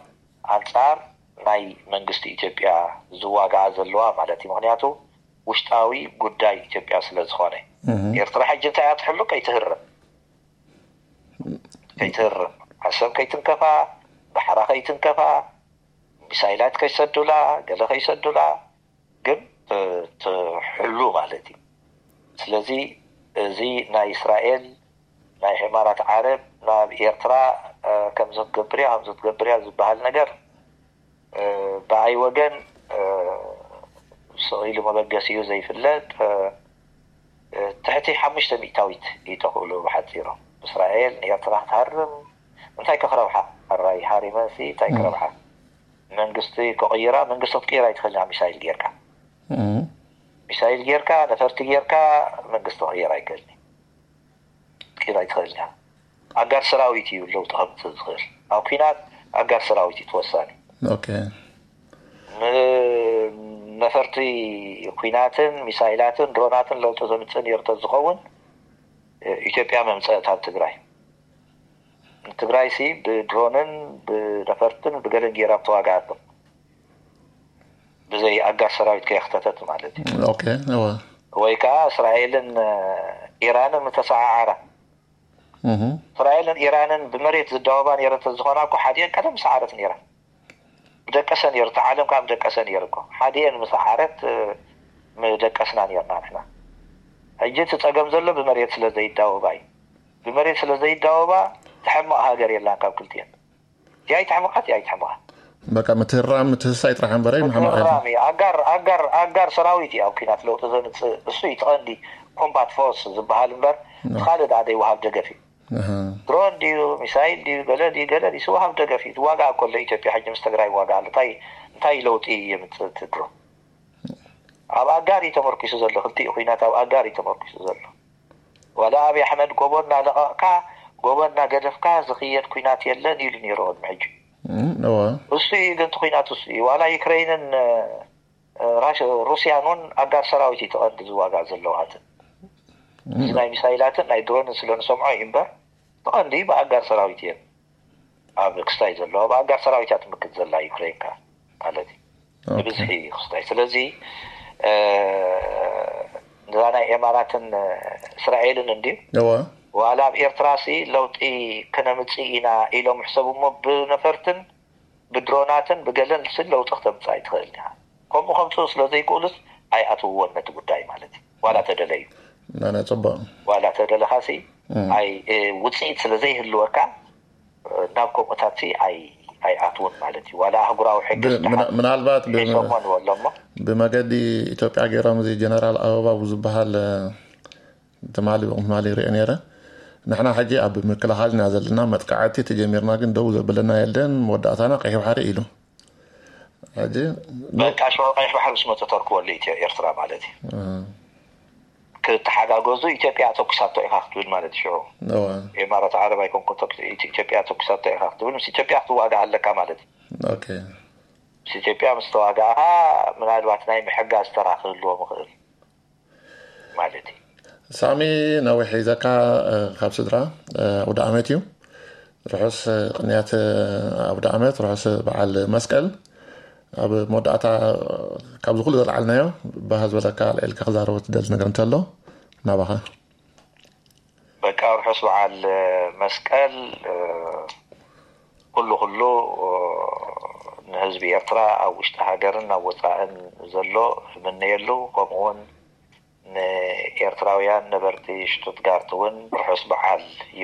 ኣንጻር ናይ መንግስቲ ኢትዮጵያ ዝዋጋኣ ዘለዋ ማለት እዩ። ምክንያቱ ውሽጣዊ ጉዳይ ኢትዮጵያ ስለ ዝኾነ። ኤርትራ ሕጂ እንታይ እያ ትሕሉ? ከይትህረም። ከይትህረም፣ ዓሰብ ከይትንከፋ፣ ባሕራ ከይትንከፋ፣ ሚሳይላት ከይሰዱላ፣ ገለ ከይሰዱላ፣ ግን ትሕሉ ማለት እዩ። ስለዚ እዚ ናይ እስራኤል፣ ናይ ኢማራት ዓረብ ናብ ኤርትራ ከምዚ ክትገብር እያ፣ ከምዚ ክትገብር እያ ዝበሃል ነገር ብኣይ ወገን ስቕ ኢሉ መበገሲኡ ዘይፍለጥ ትሕቲ ሓሙሽተ ሚእታዊት ይተኽእሉ ብሓፂሩ። እስራኤል ንኤርትራ ክትሃርም እንታይ ከክረብሓ? ኣራይ ሃሪመንሲ እንታይ ክረብሓ? መንግስቲ ክቕይራ፣ መንግስቲ ክትቅይራ ይትኽእል ሚሳይል ጌርካ። ሚሳይል ጌርካ፣ ነፈርቲ ጌርካ መንግስቲ ክቕይር ኣይክእልን። ክትቅይር ኣይትኽእልን። ኣጋር ሰራዊት እዩ ለውጢ ከምፅእ ዝኽእል። ኣብ ኲናት ኣጋር ሰራዊት እዩ ተወሳኒ። ኦኬ። ነፈርቲ ኲናትን ሚሳይላትን ድሮናትን ለውጢ ዘምፅእ ነይሩ ተዝኸውን ኢትዮጵያ መምፀእት ኣብ ትግራይ። ትግራይ ሲ ብድሮንን ብነፈርትን ብገለን ጌራ ተዋጋኣቶም ብዘይ ኣጋር ሰራዊት ከየክተተት ማለት እዩ። ኦኬ። እወ። ወይ ከዓ እስራኤልን ኢራንን ምተሰዓዓራ፣ እስራኤልን ኢራንን ብመሬት ዝዳወባ ነይረን ተዝኾና እኮ ሓዲአን ቀደም ሰዓረት ነይረን። ምደቀሰ ነይሩ፣ እቲ ዓለም ከዓ ምደቀሰ ነይሩ እኮ። ሓዲአን ምሰዓረት ምደቀስና ነይርና ንሕና። ሕጂ እቲ ፀገም ዘሎ ብመሬት ስለ ዘይዳወባ እዩ። ብመሬት ስለ ዘይዳወባ ትሕምቕ ሃገር የላን ካብ ክልቲአን። እቲኣ ኣይትሕምቓ፣ እቲኣ ኣይትሕምቓ። በቃ ምትህራም ምትህሳይ ጥራሕ እምበረ ምሓማቕ ምትህራም እዩ። ኣጋር ኣጋር ኣጋር ሰራዊት እዩ ኣብ ኲናት ለውጢ ዘምፅእ። እሱ እዩ እቲ ቀንዲ ኮምባት ፎርስ ዝበሃል እምበር እቲ ካልእ ደኣ ዘይወሃብ ደገፍ እዩ። ድሮን ድዩ ሚሳይል ድዩ ገለ ድዩ ገለ ድዩ ዝወሃብ ደገፍ እዩ። ዝዋጋእ ከሎ ኢትዮጵያ ሕጂ ምስ ትግራይ ይዋጋእ ኣሎ። እንታይ እንታይ ለውጢ የምፅእ እቲ ድሮን? ኣብ ኣጋር እዩ ተመርኪሱ ዘሎ። ክልቲኡ ኲናት ኣብ ኣጋር እዩ ተመርኪሱ ዘሎ። ዋላ ኣብይ ኣሕመድ ጎቦ እናለቐቕካ ጎቦ እናገደፍካ ዝኽየድ ኲናት የለን ኢሉ ነይሩ ቅድሚ ሕጂ። እወ እሱ እዩ ግን እቲ ኲናት እሱ እዩ። ዋላ ዩክሬይንን ራሽ- ሩስያን እውን ኣጋር ሰራዊት እዩ ተቐንዲ ዝዋጋእ ዘለዋትን እዚ ናይ ሚሳይላትን ናይ ድሮንን ስለ ንሰምዖ እዩ እምበር ተቐንዲ ብኣጋር ሰራዊት እየን ኣብ ክስታይ ዘለዋ ብኣጋር ሰራዊት እያ ትምክት ዘላ ዩክሬን ከ ማለት እዩ። ብብዝሒ ክስታይ ስለዚ እዛ ናይ ኤማራትን እስራኤልን እንድዩ እወ ዋላ ኣብ ኤርትራ ሲ ለውጢ ክነምፅእ ኢና ኢሎም ሕሰቡ እሞ ብነፈርትን ብድሮናትን ብገለን ሲ ለውጢ ክተምፅእ ኣይትኽእል ኢኻ። ከምኡ ከምፅኡ ስለ ዘይክእሉስ ኣይኣትውዎን ነቲ ጉዳይ ማለት እዩ። ዋላ ተደለዩ ናይ ጽቡቕ ዋላ ተደለኻ ሲ ኣይ ውፅኢት ስለ ዘይህልወካ ናብ ከምኡታት ሲ ኣይ ኣይኣትውን ማለት እዩ። ዋላ ኣህጉራዊ ሕጊ ምናልባት ሰሞን ወሎ እሞ ብመገዲ ኢትዮጵያ ገይሮም እዚ ጀነራል ኣበባው ዝበሃል ትማሊ ትማሊ ሪኦ ነይረ። ንሕና ሕጂ ኣብ ምክልኻል ኢና ዘለና፣ መጥቃዕቲ ተጀሚርና ግን ደው ዘብለና የለን፣ መወዳእታና ቀይሕ ባሕሪ ኢሉ። ሕጂ በቃ ሽዑ ቀይሕ ባሕሪ ምስ መፀ ተርክበሉ ኢትዮ ኤርትራ ማለት እዩ። ክተሓጋገዙ ኢትዮጵያ ተኩሳቶ ኢኻ ክትብል ማለት እዩ። ሽዑ እወ ኢማራት ዓረብ ኣይኮንኩ ተኩስ- ኢት- ኢትዮጵያ ተኩሳቶ ኢኻ ክትብል ምስ ኢትዮጵያ ክትዋጋእ ኣለካ ማለት እዩ። ኦኬ ምስ ኢትዮጵያ ምስ ተዋጋእኻ ምናልባት ናይ ምሕጋዝ ተራ ክህልዎም ይኽእል ማለት እዩ። ሳሚ ነዊሕ ሒዘካ ካብ ስድራ ኣውደ ዓመት እዩ። ርሑስ ቅንያት ኣውደ ዓመት፣ ርሑስ በዓል መስቀል። ኣብ መወዳእታ ካብዚ ኩሉ ዘልዓልናዮ ባህ ዝበለካ ኣልዒልካ ክዛረቦ ትደሊ ነገር እንተሎ ናባኻ። በቃ ርሑስ በዓል መስቀል ኩሉ ኩሉ ንህዝቢ ኤርትራ ኣብ ውሽጢ ሃገርን ኣብ ወፃእን ዘሎ እምነየሉ። ከምኡ እውን ንኤርትራውያን ነበርቲ ሽቱትጋርት እውን ርሑስ በዓል ይብል።